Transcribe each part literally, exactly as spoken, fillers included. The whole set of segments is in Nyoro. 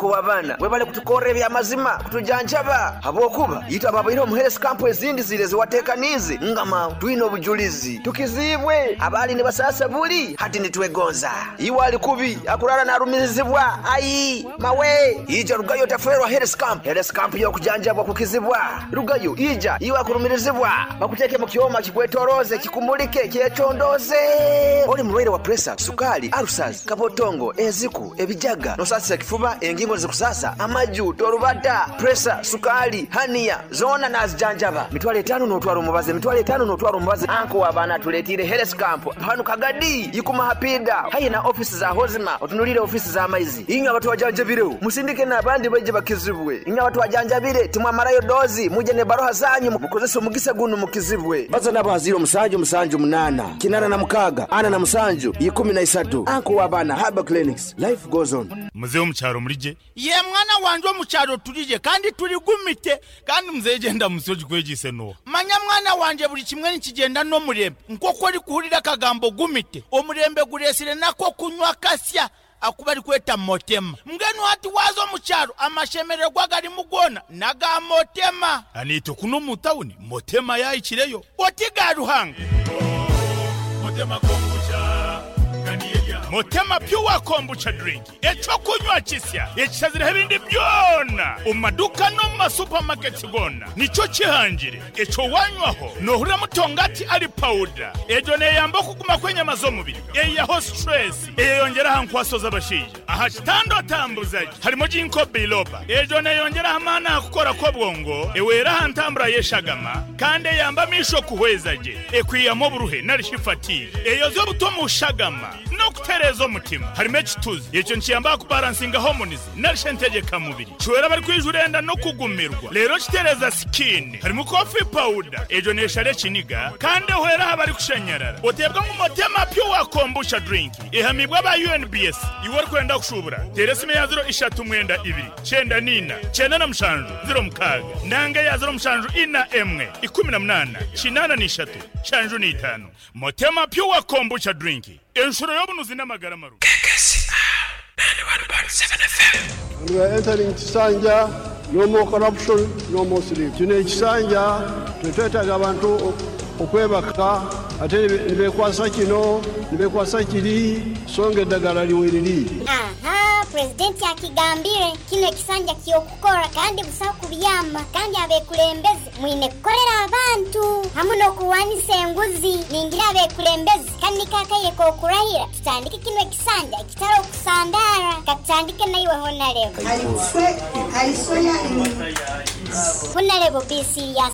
Kuba bana webale kutukorera ebyamazima kutujanjaba habwokuba yitwa babaire omu health camp ezindi zire ziwatekanize ngama twine obujulizi tukizibwe abali ne basasa buli hati nitwegonza iwe ali kubi akurara narumirizibwa ayi mawe ija rugayo taferwa health camp health camp yo kujanjabwa kukizibwa rugayo ija iwe akurumirizibwa bakuteke mu kyoma kikwetoroze kikumulike kyecondoze oli mulwaire wa pressure sukali ulcers kabotongo eziku ebijaga nosasa kifuba engingo zikusasa amaju torubata pressure sukali hania zona nazijanjaba mitwale etano notwaro mubaze mitwale etano notwaro mubaze anko wabana tuletire health camp hanu Kagadi yikuma hapida hayi na office za hozima otunulire office za maizi inga watu wajanjabire musindike na abandi baje bakizibwe inga watu wajanjabire timwamarayo dozi muje ne baroha zanyu mukozesa omugisa gunu mukizibwe baza nabo haziro musanju musanju munana kinana na mukaga ana na musanju ikumi na isatu anko wabana Harbor Clinics life goes on. Mzee omukyaro mulije ye mwana wanje omukyaro tulije kandi tuligumite kandi mzee genda musoji kwegise no manya mwana wanje buli kimwe nikigenda n'omurembe nk'oku ori kuhurira akagambo gumite omurembe guresire nako kunywa kasya akuba ari kweta motema mbwenu hati waza omukyaro amashemererwa garimu gona naga motema anito kuno mu tawuni motema yayikireyo oti ga Ruhanga motema kombucha Motema pure kombucha drink echokunywa kisya ekisazira ebindi byona omumaduka no mu masupermarkets gona nico kihangire echo wanywaho nohurira mutongati ali powder ejo neyamba okuguma kwenyama z'omubiri eyaho stress eyeyongera hankwaso z'abashaija aha kitando atambuzaji harimo ginkgo biloba ejo neyongera amaani akukora kw'obwongo ewera aha ntambura y'eshagama kandi eyamba amisho kuhwezaje ekwiyamo oburuhe narishifatiye eyoza obuto mu shagama no kutereza omutima harimo ekituzi ekyo nkiyamba kubalansinga hormones narishe ntegeka mubiri kiwera bari kwijurenda no kugumirwa rero kitereza skin harimo coffee powder ejo neshare kiniga kandi ehwera abari kushenyerara otebwa mu motema pure kombucha drink ihamibwa ba U N B S iwe kwenda kushubura teresime ya zero ishatu mwenda ibiri cyenda nina cyenda na mushanju zero mukaga nanga ya zero mushanju ina emwe ikumi na munana kinana n'ishatu shanju n'itanu motema pure kombucha drink enshuro y'obunuzi n'amagara maru. K K C R ninety-one point seven F M. We are entering Kisanja, no more corruption, no more sleep. Kino ekisanja tetwetaaga abantu okwebaka ate ne beekwasa kino ne beekwasa kiri songa eddagala liweriri. Aha, presidenti akigambire kino ekisanja ky'okukora kandi busaho kubyama kandi abekulembeze mwine kukorera abantu hamu n'okuwanisa enguzi ningira abekulembeze kandi kakaye kokurahira tutandike kino ekisanja ekitari okusandara katutandike naiwe honarebo honarebo B C ya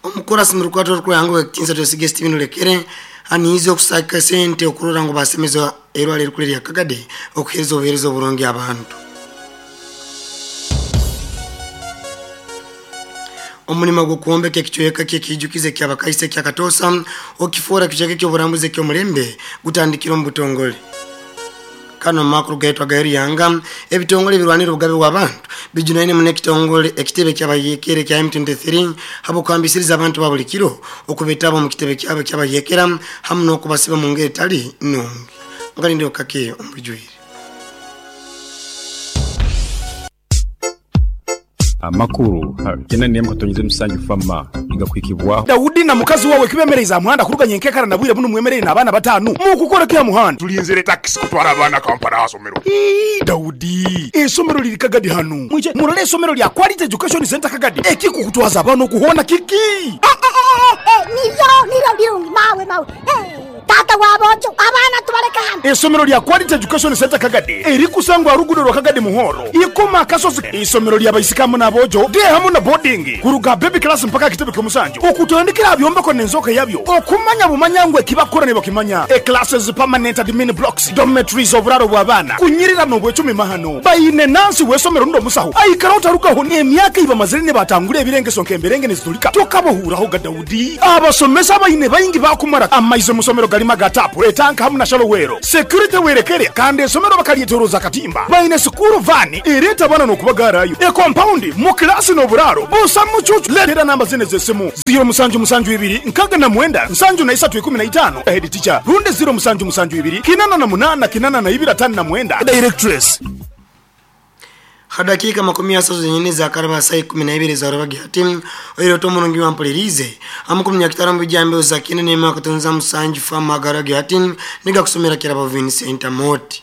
omukurasi murukwato rukwango ekinsa tosige Steven Lekere aniize okusaka sente okurora ngo basemeza erwale rukule lya Kagadi okuhereza obuhereza oburungi abantu. Omulimo gw'okwombeka ekicweka ky'ekijukize ky'abakaise kya Katosa okifora kicheke ky'oburambuzi ky'omulembe gutandikira omu butongole. Kano makuru gaitwa gairi yanga ebitongole birwanira obugabe bw'abantu bijunaine mune ekitongole ekitebe ky'abayekere kya M twenty-three habokambisiriza abantu ba buli kiro okubetaba mu kitebe kyabo ky'abayekera hamu n'okubasiba mu ngeri etali nnungi. Ngalinde okake omubijwire. Amakuru kena niye mkatonyize musanju fama igakwikibwa Daudi na mukazi wawe kibemereza muhanda kuruganye nkekara nabwire buno mwemerere n'abana batanu mu kukora kya muhanda tulinzire taxi kutwara abana Kampala asomero. Ii Daudi esomero liri Kagadi hanu mwije murole esomero lya Quality Education Center Kagadi ekikukutwaza abana okuhona kiki niyo niyo birungi mawe mawe tata wabojo abana tubaleka hano. Esomero lya Quality Education Center Kagadi erikusangwa rugudo rwa Kagadi muhoro ikoma akasozi isomero lya baisikamu nabojo de hamu na boarding kuruga baby class mpaka kitebe kyomusanju okutandikira byombeko nenzoka yabyo okumanya bumanyangwe kibakora ne bakimanya e classes permanent admin blocks dormitories oburaro bw'abana kunyirira no bwecumi mahano bayine nansi wesomero ndo musaho aikara utarukaho emyaka iba mazire ne batangure ebirengeso nkemberenge nezitulika tokabohuraho ga Daudi abasomesa bayine bayingi bakumara amaize musomero galima gatapu etanka hamuna shalo Luweero security werekere kandi esomero bakalyetoroza katimba baine sukuru vani ereeta abaana n'okubagarayo ekompaundi mu kilasi n'oburaaro busa mucucu. Leetera namba zine z'essimu ziro musanju musanju ibiri nkaga na mwenda nsanju na isatu ikumi na itaano head teacher runde ziro musanju musanju ibiri kinana na munana kinana na ibiri atano na mwenda directress. Hadakika makumi asatu zenyine za karaba saa ikumi na ibiri za rubagi hati oiro tomurungi wampulirize amukumya nyakitara bijambe uzakine nema katonza musanju fama garagi hati niga kusomera kirabo Vincent Moti.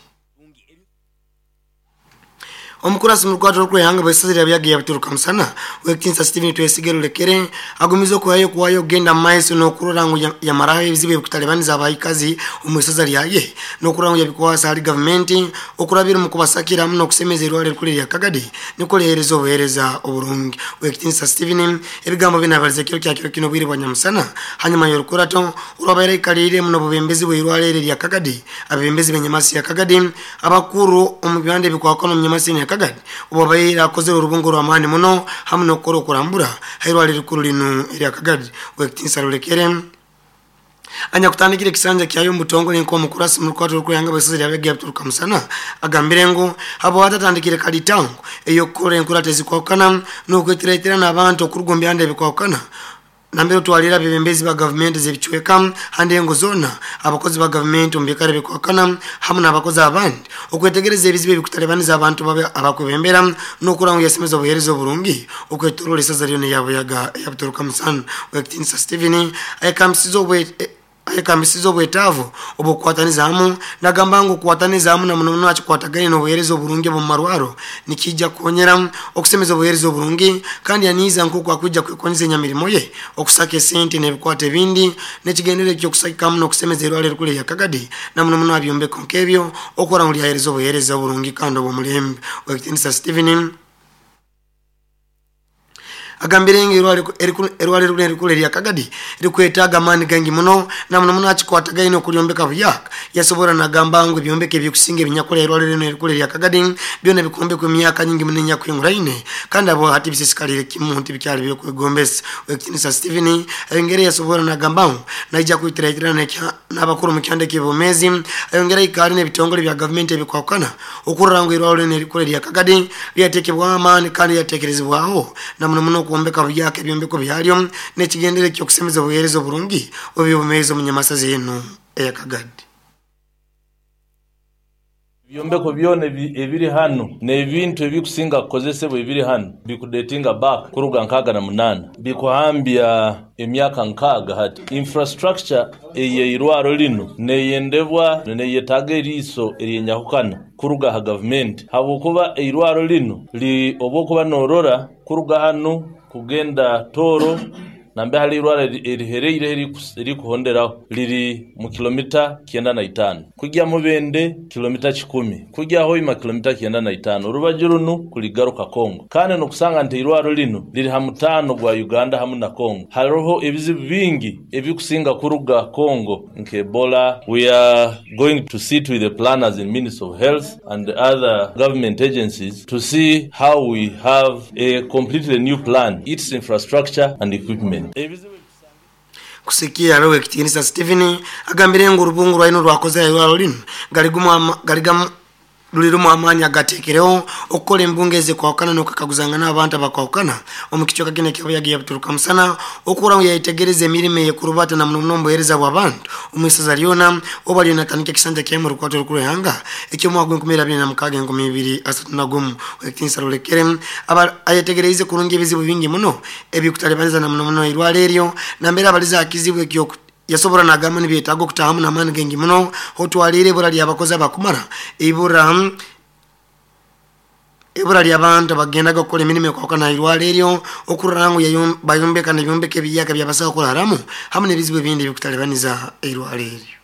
Omukurasi murukwato rwehanga bwesazira byage yabituruka musana wekinsa Steven Twesigero lekere agumizo kuhayo kuwayo genda maiso no kurora ngo yamaraho ebizibu bikutalebaniza abayikazi omusaza lyaye no kurora ngo yabikwasa ali government okurabira mu kubasakira muno kusemeza erwale rukuli lya Kagadi niko lehereza obuhereza oburungi. Wekinsa Steven ebigambo binabaliza kiro kya kiro kino bwire bwa nyamusana hanyuma yorukurato urabere kalire muno bubembezi bwirwale lya Kagadi abembezi benyamasi ya Kagadi abakuru omubande bikwakona munyamasi ya Kagadi ubabaira akozera urubungo rwa mani muno hamwe no koro kurambura hairwale rikuru lino lya Kagadi. Wekitinsa rulekere anya kutandikira kisanja kyayo mutongo nenko mukurasi murukwato rukuyanga bwesazira yabege yabituruka musana agambire ngo abo atatandikire kalitango eyo kore enkuratezi kwakana no kwetiretera n'abantu okurugombya ndebe kwakana nambere twalira bebembezi ba government zebichweka hande ngo zona abakozi ba government ombekare bekwakana hamwe n'abakozi abandi okwetegereza ebizibu bikutalebaniza abantu babe abakwebembera no kuranga yasemeza obuhereza oburungi okwetorora isaza ryo yabo yaga yabituruka musana. Wekitinsa Steven ayekamsizo bwe ayekambisizo obwetaavu obukwataniza hamu nagamba ngu kukwataniza hamu na muno muno akikwatagane n'obuheereza oburungi omu marwaro nikijja kukonyera okusemeza obuheereza oburungi kandi yaniiza nk'oku akwijja kwekonyeza enyamirimo ye okusaka esente n'ebikwata ebindi n'ekigendere ekyokusakikamu n'okusemeza erwale erikulu erya Kagadi na muno muno abyombeko nk'ebyo okukora ngu lyaheereza obuheereza oburungi kandi obw'omulembe. Wekitinisa Steven agambire ngi erwale erikulu erya Kagadi rikwetaaga amaani gangi muno na muno muno akikwatagaine okulyombeka buyaka yasobora nagamba ngu ebyombeko ebyokusinga ebinyakola erwale rino erikulu erya Kagadi byona bikombekwa emyaka nyingi muno enyakwinguraine kandi abo hati bisisikalire kimu nti bikyali byokwegombesa. Wekitinisa Steven ayongere yasobora nagamba ngu naija kwitirahitirana n'abakuru mu kyanda eky'obwomeezi ayongere ikaali n'ebitongole bya gavumenti ebikwakana okurora ngu erwale rino erikulu erya Kagadi lyateekebwaho amaani kandi lyateekerezebwaho na muno muno okuombeka buyaka ebyombeko byalyo n'ekigendere ekyokusemeza obuheereza oburungi oby'obumeezi omu nyamasaza eno eya Kagadi. Ebyombeko byona ebiri hano n'ebintu ebikusinga kukozesebwa ebiri hano bikudetinga back kuruga nkaaga na munaana bikuhambya emyaka nkaaga hati. Infrastructure eyeirwaro lino neyendebwa neyetaaga eriiso eryenyahukana kuruga ha gavumenti habwokuba eirwaro lino li obwokuba norora kuruga hano kugenda Toro nambe hali irwara erihereire erikuhonderaho liri mu kilomita kienda na itano kujya Mubende kilomita kikumi kujya Hoima kilomita kienda na itano urubaju runu kuligaruka Kongo kandi nokusanga nti irwaro lino liri ha mutano gwa Uganda hamu na Kongo. Hariho ebizibu bingi ebikusinga kuruga Kongo nke Ebola. We are going to sit with the planners in Ministry of Health and the other government agencies to see how we have a completely new plan, its infrastructure and equipment. Kusikia rowe kitinisa Steven agambire ngu urubungu rwaino rwakoze irwaro lino galigumwa galigamu lulirumu amaanyi agateekereho okukola embunga ezikwawukana n'okukaguzangana abantu abakwawukana omu kicweka kino ekyabuyaga yabituruka musana okura ngu yayetegereza emirimu eyekurubata na muno muno obuheereza bw'abantu omu isaza lyona oba lyona atandika ekisanja kyaimu orukwato rukuru ihanga eky'omwaka gw'enkumi abiri na mukaaga enkumi ibiri asatu na gumu. Wekitinisa Rulekere ayetegereize kurungi ebizibu bingi muno ebikutalibaniza na muno muno irwala eryo nambere abaliza akizibu ekyoku yasobora nagamba nibyetaaga okutahamu n'amaani gengi muno otwalire ibura ly'abakozi abakumara ibura ibura ly'abantu abagendaga okukola emirimu ekwawukana irwala eryo okurora ngu bayombeka n'ebyombeko ebiyaka byabasaho kuraramu hamwe n'ebizibu ebindi ebikutalibaniza irwala eryo.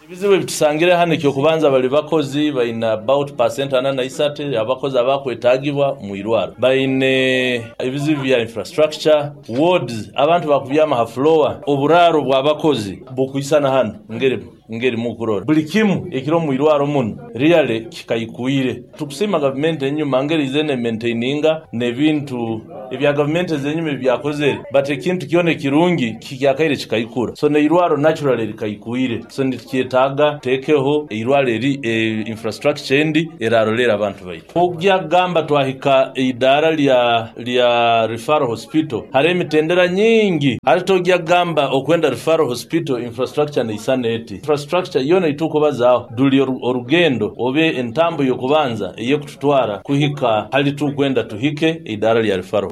Ebizibu ebitusangire hano ekyokubanza bali bakozi baina about percent ana na isatu abakozi abakwetagibwa mu irwaro baine ebizibu bya infrastructure wards abantu bakubyama ha floor oburaro bw'abakozi bukwisana hano ngere ngeri mukurora buli kimu ekiro mu irwaro muno really kikaikuire. Tukusima gavumenti enyuma ngeri izene maintaininga n'ebintu ebya gavumenti ezenyuma ebyakozere, but ekintu kyona ekirungi kikyakaire kikaikura. So neirwaro naturally likaikuire, so nitukyetaaga tekeho eirwaro eri e, infrastructure endi erarolera abantu baitu. Ogyagamba twahika eidara lya lya referral hospital, hari emitendera nyingi hari togyagamba okwenda referral hospital infrastructure neisana eti infrastructure yona itukubazaho duli orugendo obe entambo yokubanza eyekututwara kuhika hali tukwenda tuhike idara lya referral.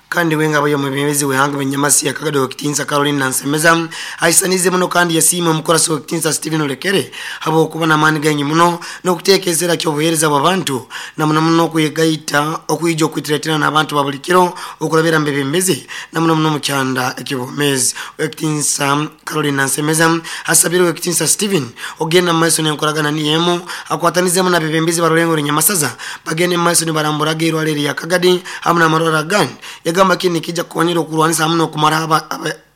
Kandi wenga bayo mwebembezi wehanga benyamasi ya Kagado Kitinsa Caroline Nansemeza aisanize muno kandi yasima omukorasi wa Kitinsa Steven Olekere habo kuba na mani ganyi muno n'okuteekezera ky'obuheereza bw'abantu na muno muno okuyegaita okwijja okwitiratira n'abantu ba buli kiro okulabira mbebembezi na muno muno mu kyanda ekibomezi. Kitinsa Caroline Nansemeza asabire Kitinsa Steven ogenda mu maiso n'enkolagana niyemu akwatanizemu n'abebembezi barulengo Nyamasaza bagende mu maiso nibaramburaga irwaliro lya Kagadi hamwe n'amarwaliro agandi. Yagamba kini kijja kukonyera okulwanisa hamwe n'okumara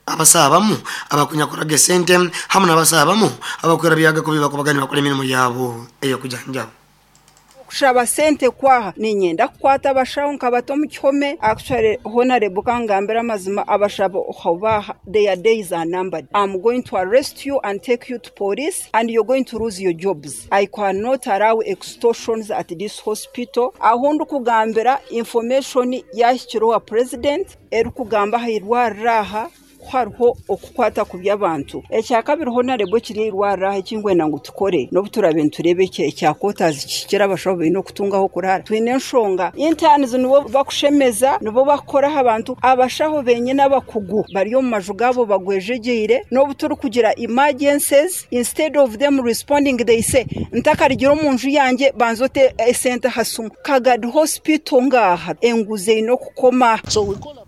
abasabamu abakunyakoraga sente hamwe n'abasabamu abakwera byaga kubiba kubagani bakora emirimu yabo eyo kujanjaba. Kushaba sente kwaha ninyenda kukwata abashaho nkabato mu kihome. Actually honorable kangambira amazima abashabo obaha their days are numbered. I'm going to arrest you and take you to police and you're going to lose your jobs. I cannot allow extortions at this hospital. Aho kugambira information yahikirwa president erikugamba hairwarraha hariho okukwata ku by'abantu. Ekyakabiri honorable kiri irwarra ekingwena ngu tukore n'obuturabe nturebe ekyakotazi kikira abashaho baine okutungaho kurara. Twine enshonga interns nibo bakushemeza nibo bakoraho abantu abashaho benyine abakugu bari omu maju gabo bagwejegeire n'obuturi kugira emergencies instead of them responding they say ntakarigira omu nju yanjye banzote esente hasumu. Kagadi hospital ngaha enguze ino kukoma. So we call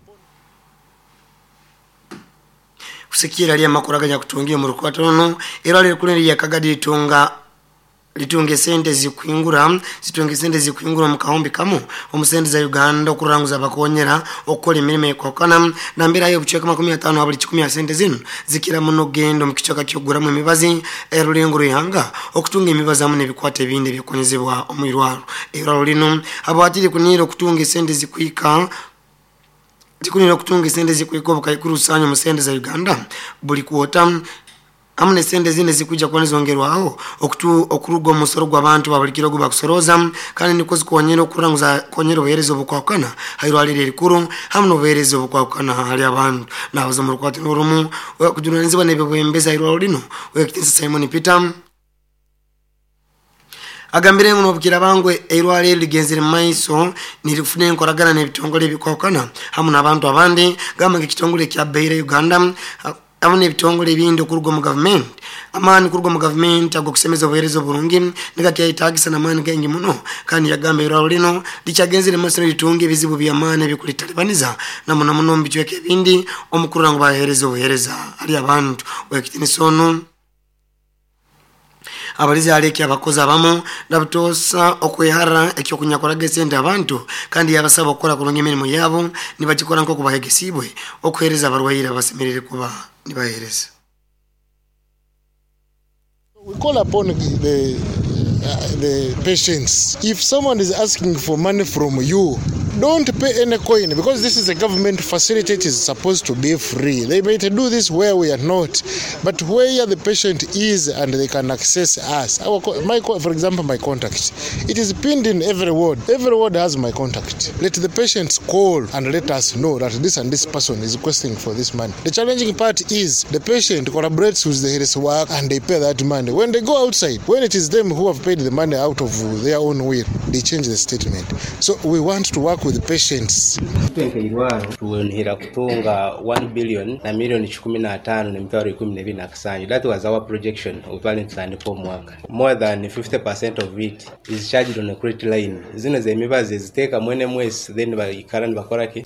kusikira ali amakuraganya kutungia mu rukwatano era ali kulindi ya Kagadi litunga litunge sente zikuingura zitunge sente zikuingura mu kahombi kamu omusente za Uganda okuranguza bakonyera okukola emirimo ekokana nambira yo bucheka makumi atano abali kikumi ya sente zino zikira muno gendo mu kichaka kyoguramu emibazi erulengo ruhanga okutunga emibazi amu nebikwate ebindi byokonyezebwa omwirwaro era lino abatiri kunira okutunga sente zikuika zikunira okutunga sente zikuika obukaikuru sanyo mu sente za Uganda buli kuota amune sente zine zikuja kwa nizongerwaho okutu okurugo musoro gw'abantu babulikiro guba kusoroza kandi niko zikonyera okuranguza konyera obuheereza obukwakana hairwalire rikuru hamwe n'obuheereza obukwakana hali abantu nabaza mu rukwati n'orumu kujunanizibwa n'ebibwembeza hairwaliro lino Wekitinsa Simon Peter agambire ngo nobukira bangwe eirwaliro ligenzere maiso nirifune enkoragana n'ebitongole ebikwakana hamwe n'abantu abandi gamba ng'ekitongole kya Beira Uganda hamwe n'ebitongole ebindi okuruga mu government amaani kuruga mu government agokusemeza obuheereza oburungi nigakyaitagisa n'amaani gengi muno kandi yagamba irwaliro lino likyagenzere maiso litunga ebizibu by'amaani ebikulitalibaniza na muno muno mu bicweka ebindi omukurura ngu baheereza obuheereza hali abantu. Wekitinisa ono abalizi aleki abakozi abamu nabutosa okwehara ekyokunyakoraga esente abantu kandi yabasaba okukola kurungi emirimu yabo nibagikora nk'oku bahegesibwe okuheereza abarwaire abasemerere kuba nibaheereza. We call upon the, uh, the patients. If someone is asking for money from you, don't pay any coin, because this is a government facility. It is supposed to be free. They might do this where we are not, but where the patient is and they can access us. Our, my, for example, my contact. It is pinned in every ward. Every ward has my contact. Let the patients call and let us know that this and this person is requesting for this money. The challenging part is the patient collaborates with the health work and they pay that money. When they go outside, when it is them who have paid the money out of their own will, they change the statement. So we want to work with the patients. Tuwenhera kutunga one billion na million kumi na tano na mitwaro ikumi na ebiri na kasanju. That was our projection of tutandika omwaka. More than fifty percent of it is charged on a credit line. Zino zemibazi ziteeka mwene mwesi then baikara nibakora ki?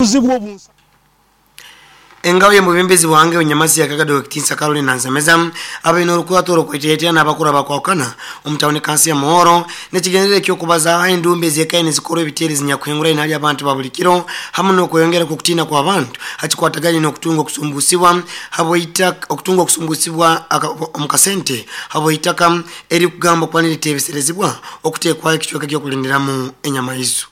Engabo y'omubembezi bwange onyamasi yakagado ekitinsa Caroline Nansemeza abaine orukwato orukweteetera n'abakuru abakwakana omutawuni kansi ya Muhoro n'ekigendererwa eky'okubaza endumbi ez'ekaine zikora ebiteere zinyakuhingura inali abantu ba buli kiro hamu n'okweyongera kw'okutiina kw'abantu hakikwataganye n'okutunga okusumbusibwa habw'eitaka okutunga okusumbusibwa omu kasente habw'eitaka erikugamba kuba niriteebeserezibwa okuteekwayo ekicweka ky'okulindiramu enyamaiso.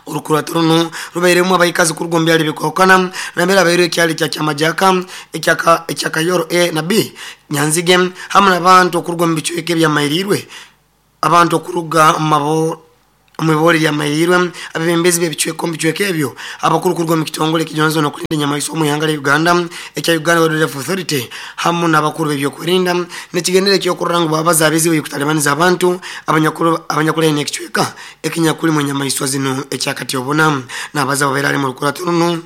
Orukurato runo rubairemu abaikazi kuruga omu byaro ebikwahukana nambere abairwe ekyaro ekya Kyamajaka, ekya ekya Kayoro A na B, Nyanzige hamu n'abantu okuruga omu bicweka ebyamairirwe abantu okuruga omu mabo omu lyamairirwe abebembezi b'ebicweka omu bicweka ebyo abakuru kuruga omu kitongole ekijwanzo n'okulinda enyamaiso omu ihanga lya Uganda ekya Uganda Wildlife Authority hamu n'abakuru b'ebyokwerinda n'ekigendere ekyokurora ngu babaza abizibu ebikutalibaniza abantu abanyakuru abanyakulene ekicweka ekinyakulimu enyamaiswa zino ekyakati obona n'abaza babeera ali mu lukurato runo.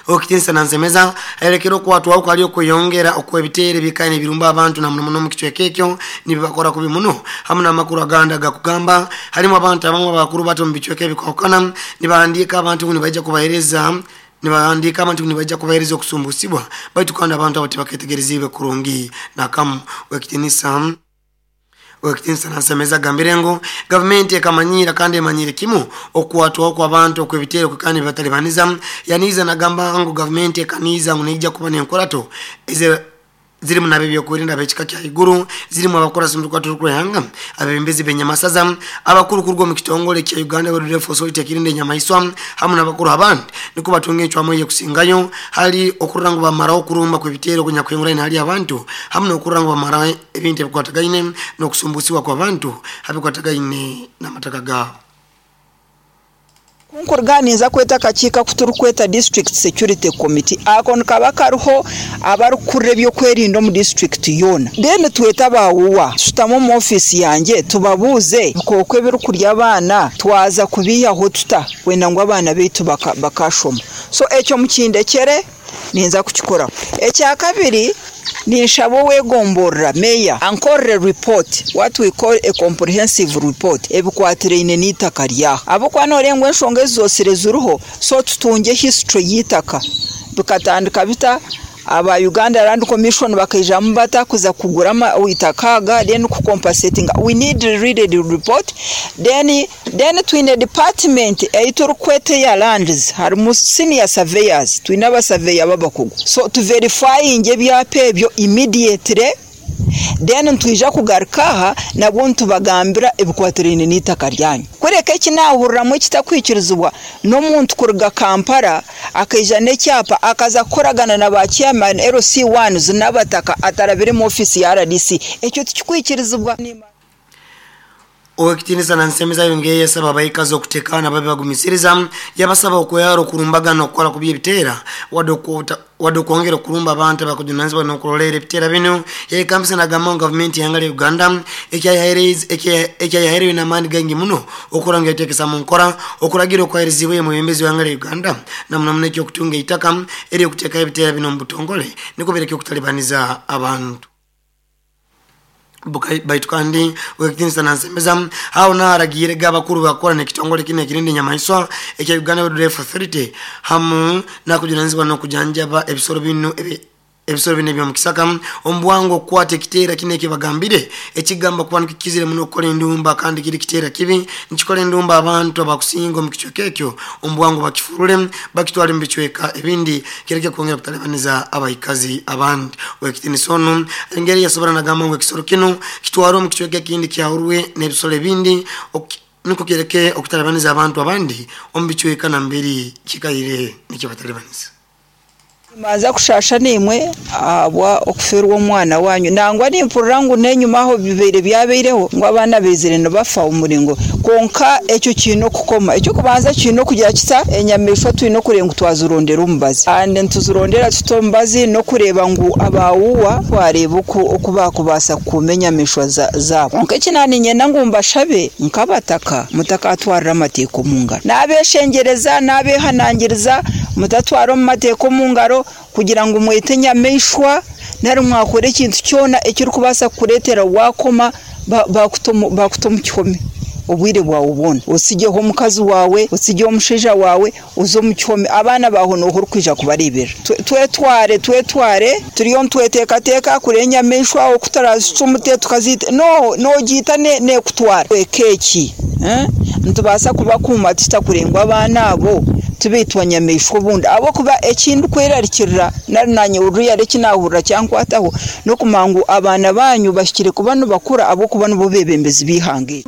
Okitinsa Nansemeza ayerekera okwatwaho kwali okweyongera okw'ebiteere bikaine ebirumba abantu na muno muno mu kicweka ekyo nibibakora kubi muno hamu n'amakuru agandi agakugamba harimu abantu abamu abakuru bato mu bicweka ebikwahukana nibahandiika abantu ngu nibaija kubaheereza nibahandiika abantu ngu nibaija kubaheereza okusumbusibwa baitu kandi abantu abo tibaketegereziibwe kurungi nakamu. Wekitinisa Wekitinsa Nansemeza agambire ngu gavumenti ekamanyira kandi emanyire kimu okwatwaho kw'abantu okw'ebiteere kandi bibatalibaniza. Yaniiza nagamba ngu gavumenti ekaniiza ngu neija kuba n'enkorato eze zirimu n'ab'ebyokwerinda ab'ekika kya iguru zirimu abakurasi mu rukwato rw'ihanga abebembezi b'enyamasaza abakuru kuruga omu kitongole kya Uganda Wildlife Authority ekirinda enyamaiswa hamu n'abakuru abandi niko batunga encwamu ey'okusingayo hali okurora ngu bamaraho okurumba kw'ebiteere okunyakuhinguraine hali abantu hamu n'okurora ngu bamaraho ebintu ebikwatagaine n'okusumbusibwa kw'abantu abikwatagaine n'amataka gaabo. Kunkuruganiza kweta akakiiko kuturikweta District Security Committee ako nikaba kariho abarikukurira ebyokwerinda omu district yoona, then tweta abawuwa tushutama omu ofiisi yangye tubabuuze ebikooko ebirikurya abaana twaza kubiihaho tuta kwenda ngu abaana baitu bakashoma. So ekyo mukindekere ninza kukikoraho. Ekyakabiri ninshaba owegomborora meya ankorere report, what we call a comprehensive report, ebikwatiraine n'itaka ryaho ahabw'okuba noorenga enshonga ezi zoosire ziriho, so tutunge history y'itaka bikatandika bita, aba Uganda Land Commission bakaijamu bata kuza kugura itaka aga, then kucompensatinga. We need really the report. then then twine department ei turikweta eya lands, harimu senior surveyors, twine abasurveyor b'abakugu, so tuverifyinge ebyapa ebyo immediately, then ntwija kugaruka aha nabwo ntubagambira ebikwatiraine n'itaka ryanyu. Kureka eki naahuriramu ekitakwikirizibwa n'omuntu kuruga Kampala akaija n'ekyapa akaza kukoragana na ba chairman L C ones n'abataka atarabire mu office ya R D C, ekyo tikikwikirizibwa. Owekitinisa Nansemeza yongeye yasaba abaikazi okutekana babe bagumisiriza yabasaba okweyara okurumbagana okukola ku by'ebiteera wadde okwongera okulumba abantu abakujunanizibwa n'okulolera ebiteera bino. Yekambisa nagamba ngu gavumenti y'ihanga lya Uganda ekyayaherewe n'amaani gaingi muno okurora ngu yateekesa mu nkora okuragira okwaherezibwe omwebembezi w'ihanga lya Uganda na muno muno eky'okutunga eitaka ery'okuteekaho ebiteera bino omu butongole nikwo bireke okutalibaniza abantu. Baitu kandi Owekitinisa Nansemeza aho naaragiire abakuru bakora n'ekitongole kino ekirinda enyamaiswa ekya Uganda Wildlife Authority hamu nakujunanizibwa n'okujanjaba ebisoro bino ebisoro bino eby'omukisaka omu bwangu okukwata ekiteera kino ekibagambire ekigamba kuba nikikizire muno okukola endumba kandi kiri kiteera kibi nikikola endumba abantu abakusinga omu kicweka ekyo omu bwangu bakifurule bakitwale mu bicweka ebindi kireke kwongera kutalibaniza abaikazi abandi. Owekitinisa ono engeri yasobora nagamba ngu ekisoro kino kitwarwe omu kicweka ekindi kyahurwe n'ebisoro ebindi niko kireke okutalibaniza abantu abandi omu bicweka namberi kikaire nikibatalibaniza. Maza kushasha nimwe abwa okuferwa omwana wanyu nangwa nimpurira ngu nenyuma aho bibeire byabeireho ngu abaana bezire nibafa omuringo konka ekyo kiine okukoma. Ekyo kubanza kiine okugira kita enyamaishwa twine okurenga twazirondera omubazi and ntuzirondera tuta omubazi n'okureeba ngu abawuwa twareeba oku bakubaasa kukuuma enyamaishwa zaabo. Konka eki naaniinyenda ngu mbashabe nk'abataka mutakatwarira amateeka omu ngaro, n'abeeshengyereza n'abeehanangiriza mutatwara omu mateeka omu ngaro kugira ngu mwete enyamaishwa nari mwakora ekintu kyona ekirikubaasa kukureetera wakoma bakuta omu kihome. Obwire bwawe bwona osigeho omukazi wawe, osigeho omushaija wawe, uze omu kihome, abaana baho noho orikwija kubareebera. Twetware twetware turiyo ntweteekateeka kure enyamaishwa okutarazicumute tukazita no nogiita nekutwara ekeki eh nitubaasa kubakuuma tutakurengwa abaana abo tubeitwa nyamaishwa obundi abo kuba ekindi kwerarikirira nari nanye uruyare ekinahurira kyankwataho n'okumangu abaana banyu bashikire kuba nibakura abo kuba nibo bebembezi b'ihanga.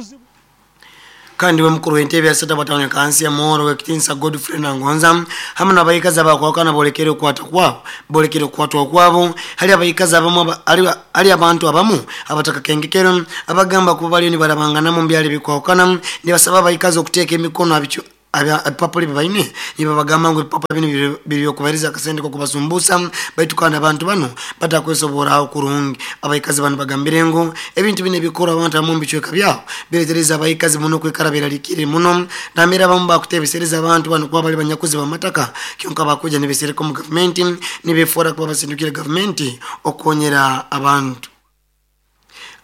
Kandi we mukuru w'entebe ya sata batano kansi ya Muhoro w'ekitinsa Godfrey Nangonza hamwe n'abayikazi abakwakana bolekere okukwata kwabo bolekere okukwatwa kwabo hali abayikazi abamu hali abantu abamu abataka kengekero abagamba kuba baliyo nibarabangana mu byalo bikwakana nibasaba abayikazi okuteeka emikono abicho ebipapula bibaine nibabagamba ngu ebipapula bino biri okubaheriza akasente kokubasumbusa baitu kandi abantu bano batakwesoboraho kurungi. Abayikazi bano bagambire ngu ebintu bino ebikora abantu abamu mubicweka byabo biretereza abayikazi muno kwikara berarikire muno namera abamu bakutebesereza abantu bano kuba bali banyakuzi bamataka kyonka bakuja nibesereka mu gavumenti nibefora kuba basindukire gavumenti okukonyera abantu.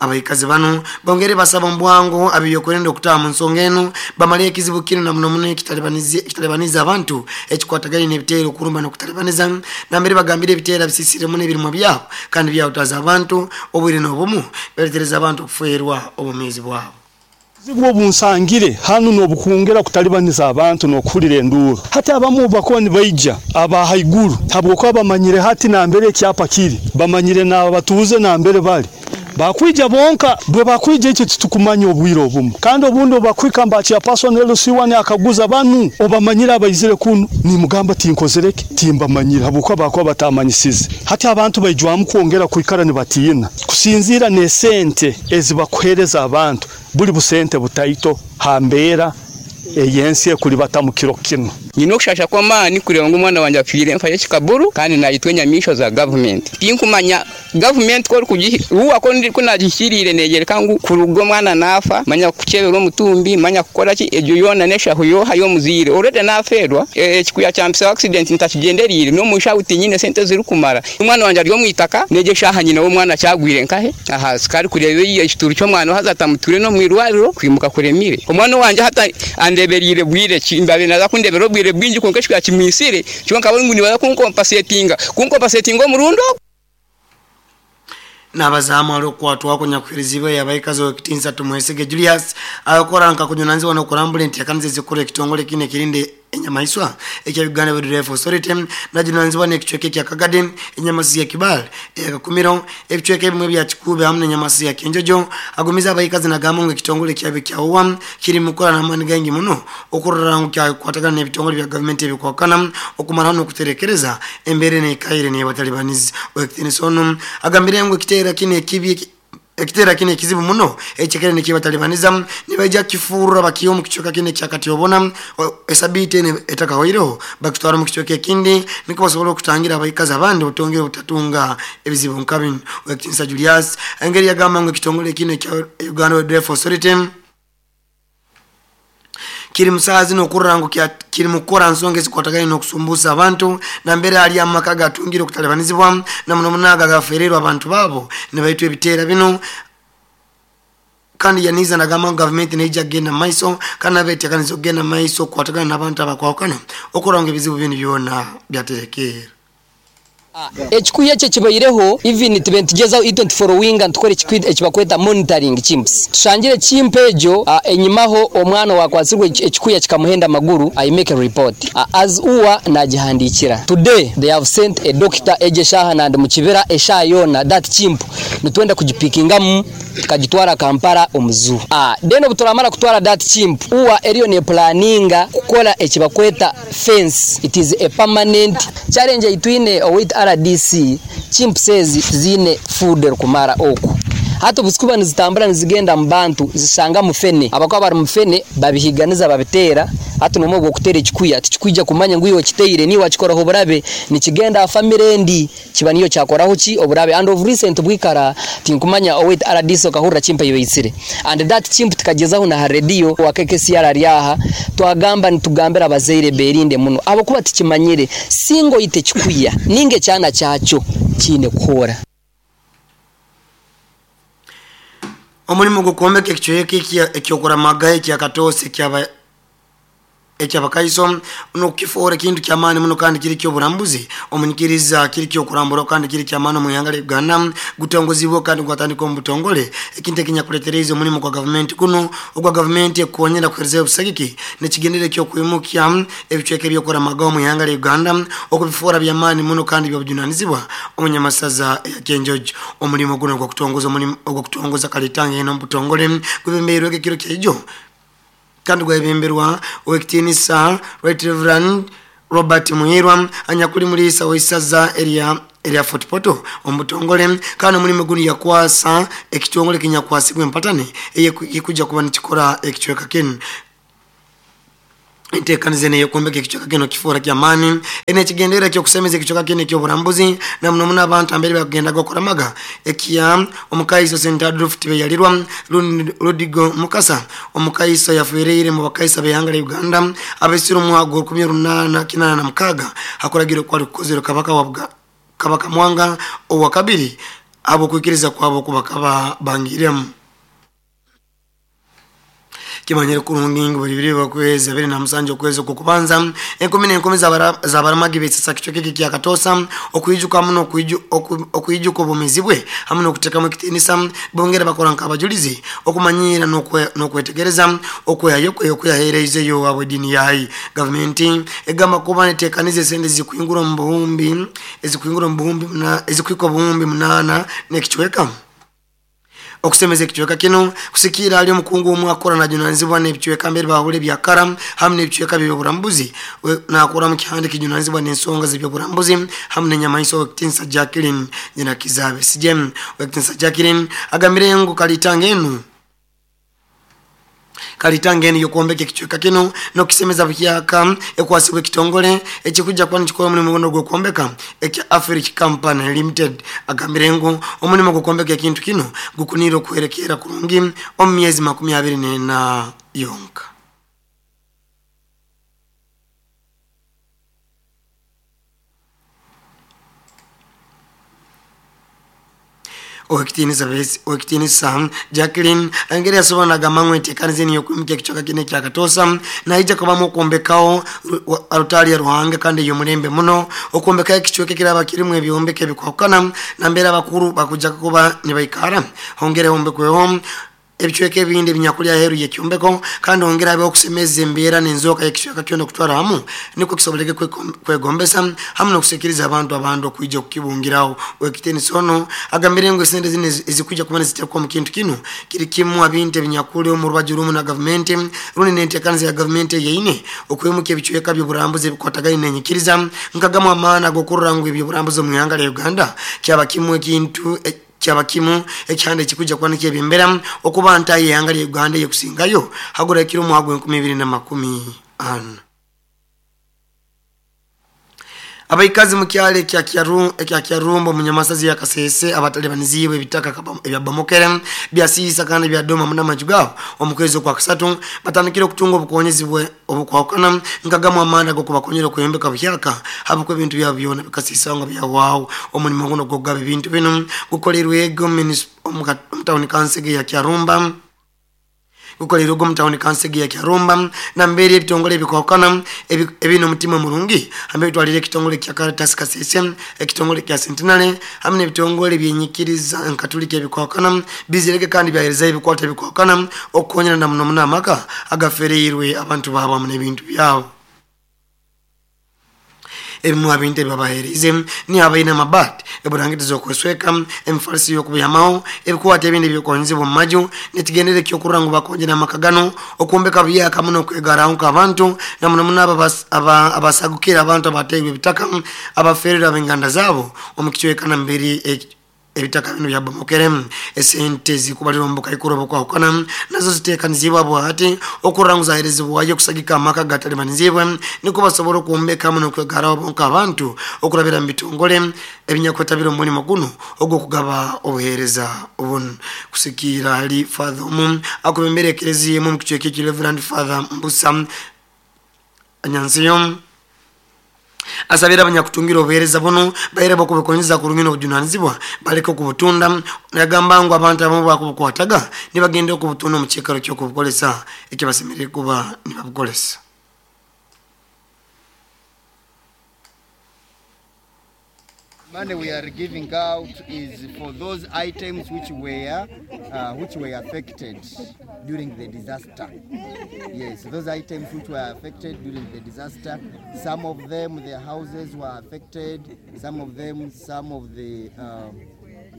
Abayikazi bano bongere basaba mbwango abiyokwenda okutaha mu nsonga eno bamale ekizibu kino na muno muno ekitalibaniza abantu ekikwataganye n'ebiteero okurumba n'okutalibaniza nambere bagambire ebiteera bisisire muno ebirimwa byabo kandi byawutaza abantu obwire n'obumu beretereza abantu okuferwa obumizi bwabo. Obuzibu obunsangire hanu n'obukungera kutalibaniza abantu n'okuhurira enduuru. Hati abamu bakuba nibaija aba haiguru habwokuba bamanyire hati nambere ekyapa kiri, bamanyire n'abatuuze nambere bali. Bakwija bonka bwe bakwija ekyo titukumanya obwire obumu kandi obundi obakwika mbakya person L C one akaguza banu obamanyira abaizire kunu nimugamba tinkozereke timbamanyira habwokuba bakuba batamanyisize. Hati abantu baijwamu kwongera kwikara nibatiina kusinzira n'esente ezibakuhereza abantu buli busente butaito hambera eyensi ekuli batamukiro kino. Nyina okushasha kw'amaani kureba ngu omwana wanje afiire enfa y'ekikaburu kandi nayitwa enyamaishwa za gavumenti. Tinkumanya gavumenti korukugihuwa ko nagihikiriire neyereka ngu kuruga omwana naafa manya kukyebera omutumbi manya kukora ki egyo yoona n'eshahu yoha y'omuziire already nafeerwa ekikuya kyampisa accident ntakigenderiire n'omushahu tinyine sente zirikumara. Omwana wanje ari omu itaka negyo eshaaha nyina w'omwana kyagwire nkahe aha sikari kureba ekituru ky'omwana haza atamuture n'omwirwariro kwimuka kuremire. Omwana wanje hata andeberiire bwire ki mbabe naza kundebera obwire bwingi konka ekikuya kimwisire kyonka ngu nibaza kunkompasetinga kunkompasetinga omurundo. N'abazamu aliokwatwako nyakufirizibwa yabayikazi w'ekitinsa Tumwesige Julius akora nka kunyonanzibwa n'okurambula enteekaniza ezikora ekitongole kino ekirinde enyamaiswa ekya Uganda Wildlife Authority najunanzibwa n'ekicweka ekya Kagadi, enyamasi ya Kibale, Kakumiro, ebicweka ebimwe bya Kikuube hamwe n'enyamasi ya Kenjojo. Agumiza abayikazi nagamba ngu ekitongole kyabe kya U A kiri mukora n'amaani gaingi muno okurora ngu kyakwatagana n'ebitongole bya gavumenti ebikwakana okumaraho n'okuterekereza embeera n'ekaire n'ebatalibanizi. Owekitinisa ono agambire ngu ekiteera kino ekibi ekitera kine kizibu muno ekikere nikibatalibaniza nibaija kifurura bakiyo mu kichoka kine kyakatiyobona esabite etakahoireho bakitwara mu kichoka ekindi niko basobola okutangira abayikazi abandi otongere obutatunga ebizibu nka bino. Owekitinisa Julius engeri yagamba ngu ekitongole kino kya Uganda Wildlife Authority kiri musazi n'okurora ngu kiri mukora nsonga ezikwataganye n'okusumbusa abantu nambere ali amaka gatungire okutalibanizibwa na muno munaga gafererwa abantu babo nibaitwa ebiteera bino. Kandi yaniza nagamba ngu gavumenti neija kugenda maiso kandi abeteekaniza okugenda maiso okukwatagana n'abantu abakwawukana okurora ngu ebizibu bino byona byaterekeera. Ekikuya ekyo kibaireho even tibentugeza I twenty-four winga ntukore ekibakweta monitoring chimps tushangire chimp ejo enyimaho omwana wakwasirwe ekikuya kikamuhenda amaguru. I make a report uh, as uwa nagihandikira today they have sent a doctor eje shaha nandi mukibira esha yona that chimp nitwenda kugipikingamu tukagitwara Kampala omuzu. Ah, then obuturamara kutwara that chimp uwa eriyo ne planninga kukola ekibakweta fence. It is a permanent challenge itwine with R D C chimp says zine food kumara oku hata busikuba nizitambura nizigenda mbantu zisanga mufene abakwa bari mufene babihiganiza babitera hata nomo gukutera ekikuya tikikwija kumanya ngu iwe kiteire ni wakikoraho burabe nikigenda family ndi kiba niyo cyakoraho ki oburabe. And of recent bwikara tinkumanya owet R D C okahurra chimpa yoyisire and that chimp tukagezaho na radio wa K K C R ryaha twagamba nitugambira abazeire berinde muno abo kuba tikimanyire singo ite kikuya ninge cyana cyaco kine kuhora. Omulimu gw'okwombeka ekicweka ekyokuramaga ekyakatoosi ekyaba ekyabakaiso nokukifuura ekintu kyamaani muno kandi kiri kyoburambuzi omunyikiriza kiri kyokurambura kandi kiri kyamaani omu ihanga lya Uganda gutongozibwe kandi gwatandika omu butongole ekintu ekinyakuletereize omulimu gwa gavumenti kuno ogwa gavumenti ekukonyera kuherezayo obusagiki nekigendere ekyokwimukya ebicweka ebyokuramaga omu ihanga lya Uganda okubifuura byamaani muno kandi byobujunanizibwa omunyamasaza ya Kenjojo. Omulimu guno ogwakutongoza omulimu ogwakutongoza kalitanga eno omu butongole gwebembeirweko ekiro kyaijo kandi gwebemberwa owekitiinisa Right Reverend Robert Muhirwa anyakuli muliisa w'isaza erya erya Fort Portal omu butongole kandi omulimu guno yakwasa ekitongole kinyakwasibwa empatane eyekujja kuba nikikora ekicweka kinu. Enteekaniza eno ey'okwombeka ekicweka kino kifuura kyamaani eno ekigendererwa ekyokusemeza ekicweka kino ekyoburambuzi na muno muno abantu ambere bakugendaga okuramaga ekya omukaiso Saint Adolf Tibeyalirwa Ludigo Mukasa omukaiso yafiireire mu bakaisa b'ihanga lya Uganda abesire omwaka gwa rukumi runaana kinaana na mukaaga hakuragirwa okwali kukozerwe kabaka wa Kabaka Mwanga owa kabiri habw'okwikiriza kwabo okubakaba bangiremu. Kimanyire kurungi ngu buli biri bakwezi abiri na musanju okwezi okwokubanza enkumi n'enkumi z'abaramagi betsesa kicweka eki kya Katoosa okwijuka muno okwijuka obwomeezi bwe hamwe n'okuteekamu ekitiinisa bongera bakora nk'abajulizi okumanyira n'okwetegereza okwehayo kwe okuyaheereizeyo habw'ediini yayi. Gavumenti egamba kuba neteekaniza esente ezikuhingura omu buhumbi ezikuhingura omu buhumbi ezikuhika obuhumbi munaana n'ekicweka okusemeza ekicweka kino kusikiira ali omukungu omwe akora najunanizibwa n'ebicweka mbere bahule byakara hamwe n'ebicweka by'oburambuzi nakora mu kihande kijunanizibwa n'ensonga z'ebyoburambuzi hamwe n'enyamaiso owekitiinisa Jacqueline Nyina Kizabe Sijem. Owekitiinisa Jacqueline agambire ngu kalitanga enu kalitanga enu y'okwombeka ekicweka kino n'okusemeza buhyaka ekwasibwa ekitongole ekikujja kuba nikikora omulimu guno ogw'okwombeka ekya Africa Company Limited. Agambire ngu omulimu gw'okwombeka ekintu kino gukuniire okuherekeera kurungi omu myezi makumi abiri n'ena yonka. Owekitiinisa owekitiinisa Jacqueline engeri yasobola nagamba ngu enteekaniza eno y'okwimuka ekicweka kino ekya Katoosa naija kubamu okwombekaho alutaari ya Ruhanga kandi ey'omulembe muno okwombekaho ekicweka ekiraba kirimu ebyombeko ebikwahukana nambeera abakuru bakujja kuba nibaikara hongere hombekweho ebicweka ebindi ebinyakulya aheeru y'ekyombeko kandi hongere habeho okusemeza embeera n'enzooka y'ekicweka kyona okutwara hamu nikwo kisoboleke kwegombesa hamwe n'okusikiriza abantu abandi okwija okukibungiraho. Owekitiinisa ono agambire ngu esente zino ezikwijja kuba niziteekwa omu kintu kino kiri kimu abintu ebinyakulya omu rubaju rumu na gavumenti rundi n'enteekaniza ya gavumenti eyeine okwimuka ebicweka by'oburambuzi ebikwatagaine n'enyikiriza nkagamu amaani ag'okurora ngu ebyoburambuzi omu ihanga lya Uganda kyaba kimu ekintu kyaba kimu ekihanda ekikujja kuba nikyebembera okuba ntayi ihanga lya Uganda ey'okusingayo hagura ekiro omwaka gw'enkumi ibiri na makumi ana. Abaikazi mu kyalo ekya Kyarumba omu Nyamasazi ya Kasese abatalibanizibwe ebitaka ebyabamokere byasiisa kandi byadoma muno amaju gaabo omu kwezi okwakusatu batandikire okutunga obukonyezi obukwahukana nkagamu amaani ag'okubakonyera okweyombeka buhyaka habwokuba ebintu byabo byona bikasiisa nga byahwaho. Omulimu guno ogw'okugaba ebintu binu gukolerwege omu tawuni kansege ya Kyarumba gukolerwe omu tawuni kansege ya Kyarumba nambeera ebitongole ebikwahukana ebine omutima murungi hamwe bitwalire ekitongole kya Caritas Kasese ekitongole kya Centenary hamwe n'ebitongole byenyikiriza nkatulika ebikwahukana bizireke kandi byaherezayo ebikwata ebikwahukana okukonyera na muno muno amaka agafereirwe abantu baabo hamwe n'ebintu byabo. Ebimu abintu ebibabaheerize ni abaine amabaati eburangiti z'okwesweka emifalisi y'okubuyamaho ebikwata ebindi ebyokwonzibwa omu maju nekigendere ekyokurora ngu bakongera amaka gano okwombeka buhyaka muno okwegaraho nk'abantu na muno muno abasagukire abantu abateirwe ebitaka abafererwe ab'enganda zaabo omu kicweka nambere ebitaka bino byabomokere. Esente zikubalirwa omu bukaikuru obukwahukana nazo ziteekanizibwa bwati okurora ngu zaheerezibwayo okusagika amaka agatalibanizibwe nikwo basobora okwombeka muno okwegaraho bonka abantu okurabira mu bitongole ebinyakwetabire omu mulimo guno ogw'okugaba obuheereza obuno. Kusikiira hali Father omu akubembera ekereziya emu omu kicweka eki Reverend Father Mbusa Anyansiyo Asabira abanyakutungira obuheereza buno baire bakubikonyeza kurungi n'obujunanizibwa baleke okubutunda. Yagamba ngu abantu abamu bakubukwataga nibagenda okubutunda omu kiikaro ky'okubukolesa ekibasemerere kuba nibabukolesa. Money we are giving out is for those items which were uh, which were affected during the disaster. Yes, those items which were affected during the disaster. Some of them, their houses were affected. Some of them, some of the uh,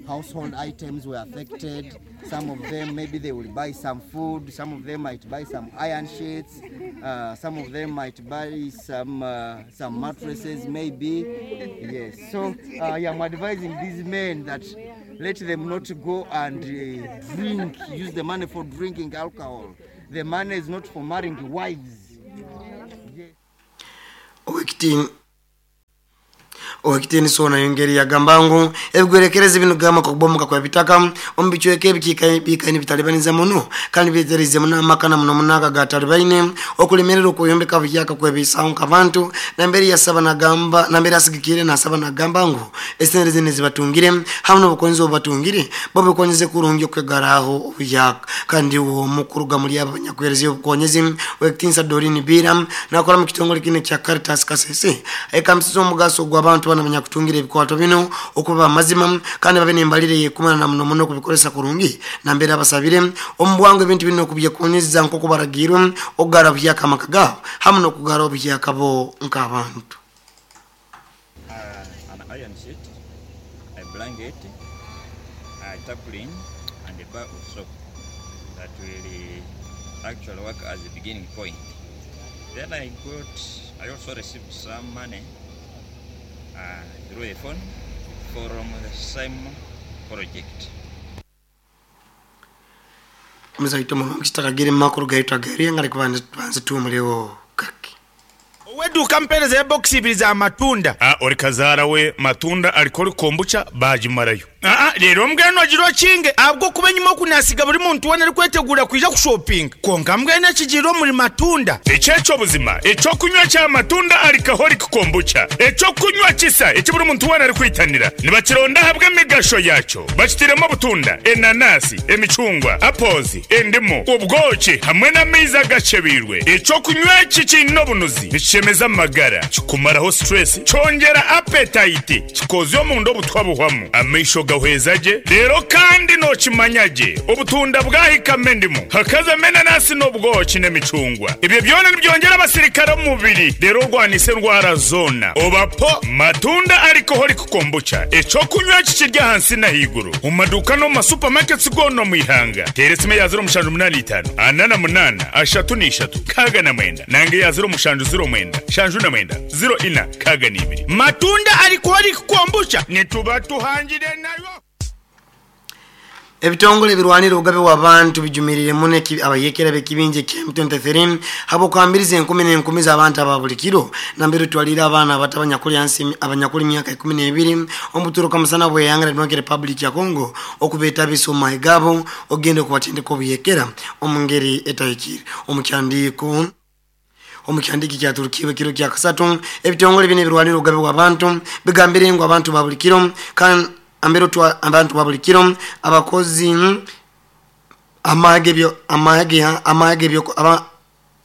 household items were affected. Some of them, maybe they will buy some food. Some of them might buy some iron sheets. Uh, some of them might buy some uh, some mattresses, maybe. Yes. So uh, I am advising these men that let them not go and uh, drink, use the money for drinking alcohol. The money is not for marrying wives. Yes. Owekitini sona yongeri yagamba ngu ebigwerekereza bino gama kubomoka kwa bitaka omubichweke ebikika bikaini bitalibaniza muno kandi byeterize muno amakana muno munaka ga talibaine okulemerera okuyombeka buyaka kwebisawo nkabantu namberi yasaba nagamba namberi asigikire nasaba nagamba ngu esente zine zibatungire hamwe n'obukonzi obatungire babikonyeze kurungi okwegaraho obuyaka. Kandi uwo mukuru gamuli abanyakwereza obukonyezi Owekitinisa Doreen Biram nakora mu kitongole kine kya Caritas Kasese ekamsizo omugaso gw'abantu bana abanyakutungira ebikwato bino okuba amazima kandi babe nembalire yekumana na muno muno kubikolesa kurungi nambere abasabire omubwangu ebintu bino okubyekonyeza nk'oku baragirwe okugara obuhyaka amaka gaabo hamwe n'okugara obuhyaka bo nk'abantu. Uh, an iron sheet, a blanket, a tarpaulin and a bar of soap that will actually work as a beginning point. Then I got, I also received some money Uh, through the phone from the same project. Mzaito muno mkitakagire makuru gaitwa gari ngari kubanze tumulewo kaki. Weduka mpereza box ibiri za matunda. Ah, ori kazara we matunda alikori kombucha bajimarayo. Ah, rero mbweno agiro kinge abwo kubenyuma kunasiga buri muntu wona ari kwetegura kuja ku shopping. Konka mbwene kijiro muri matunda. Echecho buzima, echo kunywa cha matunda alcoholic kombucha. Echo kunywa kisa, echo buri muntu wona ari kwitanira. Nibakironda habwe migasho yacho. Bakitiremo butunda, enanasi, emicungwa, apples, endimu, ubwoki hamwe n'amaizi agacebirwe. Echo kunywa kikino bunuzi. Nikishemeza amagara, kikumaraho stress, cyongera appetite, kikozyo mu ndo butwabuhwamu. Amaisho gahwezaje rero kandi nokimanyaje obutunda bwahikame ndimu hakaza menanasi n'obwoki n'emicungwa ibyo byona nibyongera abasirikare mu mubiri rero rwanise ndwara zona obapo matunda alcoholic kombucha eco kunywa kikirya hansi na higuru mu maduka no mu supermarkets gono mu ihanga teresime ya zero mushanju munani itanu anana munana ashatu n'ishatu kaga na mwenda nange ya zero mushanju zero mwenda shanju na mwenda zero ina kaga n'ibiri matunda alcoholic kombucha nituba tuhangire nayo. Ebitongole birwanira obugabe bw'abantu bijumirire muno abayekera b'ekibinja kya M twenty-three habo kwambiriza enkumi n'enkumi z'abantu aba buli kiro nambere twalira abaana abato abanyakuli ansi abanyakuli myaka ikumi n'ebiri omuturuka musana bweyanga Democratic Republic ya Congo okubeetabisa omu mahe gaabo ogenda okubatendeka obuyekera omu ngeri etahikire. Omukyandiko omukyandiki kyaturukiwe kiro kya kasatu ebitongole bino ebirwanira obugabe bw'abantu bigambire ngu abantu ba buli kiro kandi ambero twa abantu babuli kiro abakozi amage byo amage amage byo aba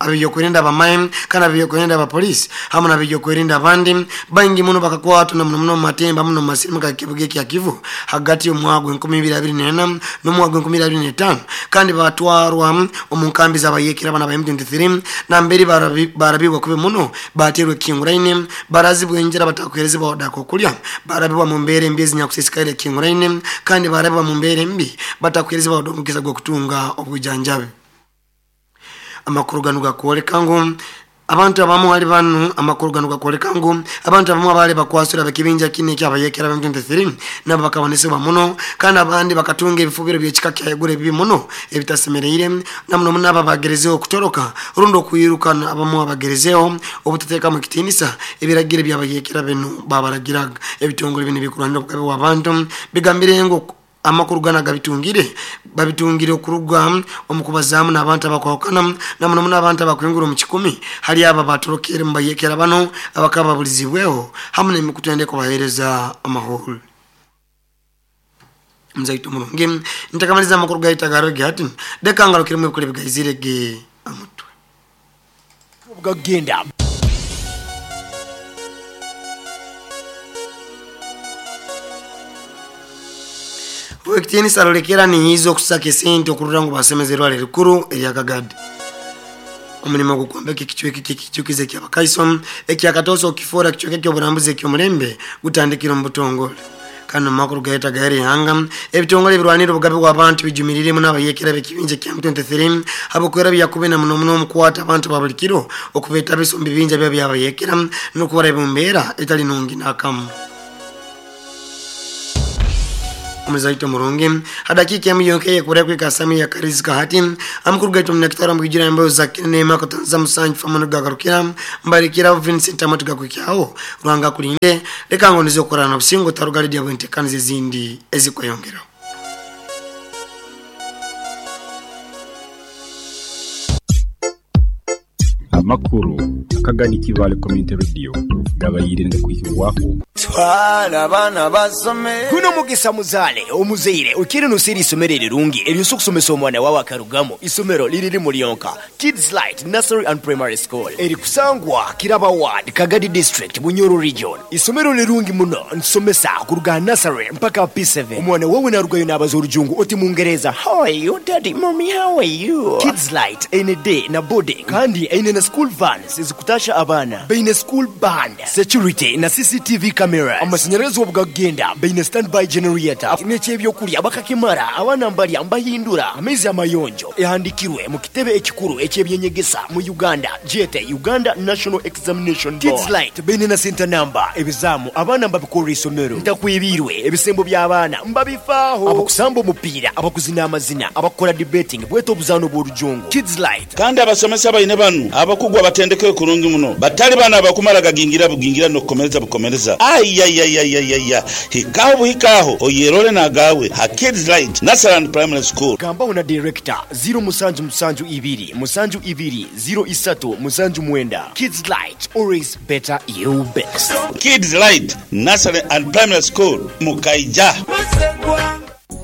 abyokwerinda abamaye kana abyokwerinda abapolisi hamwe nabyokwerinda abandi bangi muno bakakwatwa na muno matemba muno masirimu ka kibuge kya Kivu hagati y'omwaka enkumi ibiri abiri n'ena n'omwaka enkumi ibiri abiri n'etaano kandi batwarwa omu nkambi z'abayekera abana ba M twenty-three namberi barabibwa kube muno baterwe kinguraine barazibwa enjera batakwerezebwa wadako kulya barabibwa mu mbere mbi ezinyakusisikaire kinguraine kandi barabibwa mu mbere mbi batakwerezebwa wadomukisa gwa kutunga obujanjabi. Amakuru gano gakwoleka ngu abantu abamu ali banu amakuru gano gakwoleka ngu abantu abamu abali bakwasura bekibinja kine kyabayekera ba M twenty-three nabo bakabonesebwa muno kandi abandi bakatunga ebifubiro by'ekika kya egure bibi muno ebitasemereire namuno muno ababagerezeho okutoroka rundi okwirukana abamu abagerezeho obutateeka mu kitinisa ebiragiro by'abayekera bino babaragiraga. Ebitongole bino bikurwanira obugabe bw'abantu bigambire ngu Amakuru gana gabitungire babitungire okuruga omukubazaamu n'abantu abakwawukana namuno muno abantu abakwingura omu kikumi hali abo abatorokere mu bayekera bano abakaba babulizibweho hamu n'emikutu ende kubaheereza amahoro. Mzaitu mulungi ntakamaliza amakuru gaita garoge hati deka ngalukire mu ebikole bigaizire ge amutwe gagenda. Wekitini salolekera ni hizo kusaka esente okurura ngu basemezerwa lerikuru erya Kagadi. Omulimo gukwambeka ekichweki kikichukize kya Bakaiso ekyakatoso okifora kichweke kyoburambuzi ekyomulembe gutandikira mu butongole. Kano makuru gaita gairi hanga ebitongole birwanira obugabe bw'abantu bijumiriremu n'abayekera bekibinje kya M twenty-three abukwera byakube na muno muno omukwata abantu babulikiro okubeta bisumbi binja bya byabayekera n'okubara ebumbeera etali nungi nakamu. Mzaito murungi hadakika ya miyonke kure kwika sami ya karizika hati amkuru gaitu mnakitara mgijira ambayo za kinema kutanza musanju famano gagarukira mbarikira Vincent amatuga kukyao Rwanga kulinde leka ngo nizo korana busingo tarugali dia bwentekanize zindi ezikweyongera. Amakuru Akagadi Kibale Community Radio gabayire ndikuhirwako twala abana basome kuno mugisa muzale omuzeire ukiri nusiri isomero rirungi eryo kusomesa omwana wawe akarugamo isomero liriri mulionka Kids Light Nursery and Primary School eri kusangwa Kiraba Ward Kagadi District Bunyoro Region. Isomero lirungi muno nsomesa kuruga nursery mpaka P seven. Omwana wawe narugayo nabaza orujungu oti mungereza how are you daddy mommy how are you. Kids Light N D na boarding kandi eine na school vans ezikutasha abana beine school band security na C C T V cameras amashanyarazi obugagenda beine standby generator n'ekyebyokulya bakakimara abana mbalya mbahindura amezi amayonjo ehandikirwe mu kitebe ekikuru ekyebyenyegesa mu Uganda jete Uganda National Examination Board. Kids Light beine na center number ebizamu abana mbabikora isomero ntakwibirwe ebisembo by'abaana mbabifaaho abakusamba omupiira abakuzina amazina abakora debating bweto obuzano bw'orujungu Kids Light. Kandi abasomesa baine banu abakugwa batendeke kurungi muno batali bana abakumara gagingira bugingira no kukomereza bukomereza ayayayayaya hikaho buhikaho oyerole nagawe ha Kids Light Nursery and Primary School. Gamba na director zero musanju musanju ibiri musanju ibiri zero isatu musanju mwenda. Kids Light always better you best. Kids Light Nursery and Primary School Mukaija.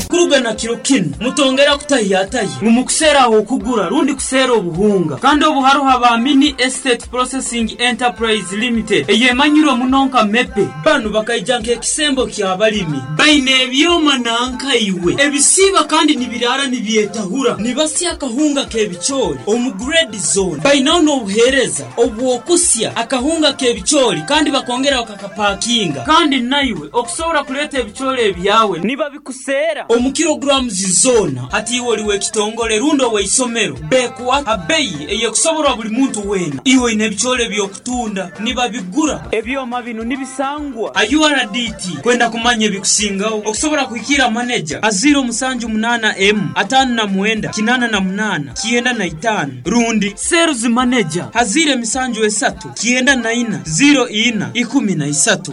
Kurugana kiro kino mutongera kutahiyataye mumukusera aho kugura rundi kusera obuhunga kandi obuharuha ba Mini Estate Processing Enterprise Limited eyemanyirwe munonka mepe banu bakaijanka ekisembo kya balimi baine ebyoma nanka iwe ebisiba kandi nibirara nibyetahura nibasya akahunga kebichori omu grade zone bainaho n'obuhereza obwokusya akahunga kebichori kandi bakongera bakakapakinga kandi naiwe okusobora kuleta ebichori ebyawe niba bikusera omu kilograms zona hati iwe oliwe kitongole rundo we isomero bekuwa abeyi eyekusoborwa buli muntu wena iwe ine ebichole byokutunda nibabigura ebyoma bino nibisangwa a U R D T kwenda kumanya ebikusingaho okusobora kuhikira manager aziro musanju munana M atano na mwenda kinana na munana kienda na itano rundi sales manager hazire misanju esatu kienda na ina zero ina ikumi na isatu.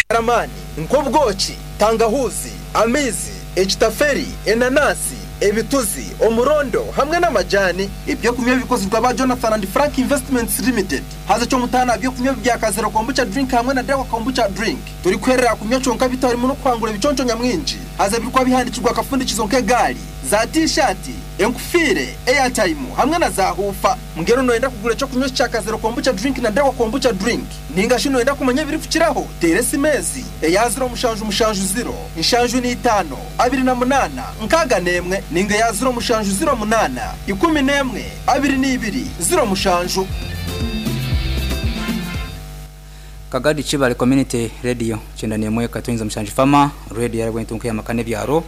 Ramani, nkobwoki, tangahuzi, amizi, ekitaferi, enanasi, ebituzi, omurondo hamwe n'amajani. Ibyo kunywa bikozwe ba Jonathan and Frank Investments Limited. Haza cyo mutana byo kunywa bya Kazero kombucha drink hamwe na Dawa kombucha drink. Turi kwerera kunywa cyonka bitari muno kwangura ibiconco nyamwinji. Haza birikwa bihandikirwa akafundikizo nk'egali, za t-shirt, enkufire, airtime hamwe na za hufa. Mungero noenda kugura cyo kunywa cya Kazero kombucha drink na Dawa kombucha drink. Ninga shino enda kumanya biri kukiraho. Teresi mezi, eya zero mushanju mushanju zero, inshanju ni itano, abiri na munana, nkaga nemwe, ninga ya zero mushanju zero munana, ikumi nemwe, abiri n'ibiri, zero mushanju. Kagadi Chibale Community Radio chenda nemwe katunza mushanju fama radio yarabwe ntunke yamakane byaro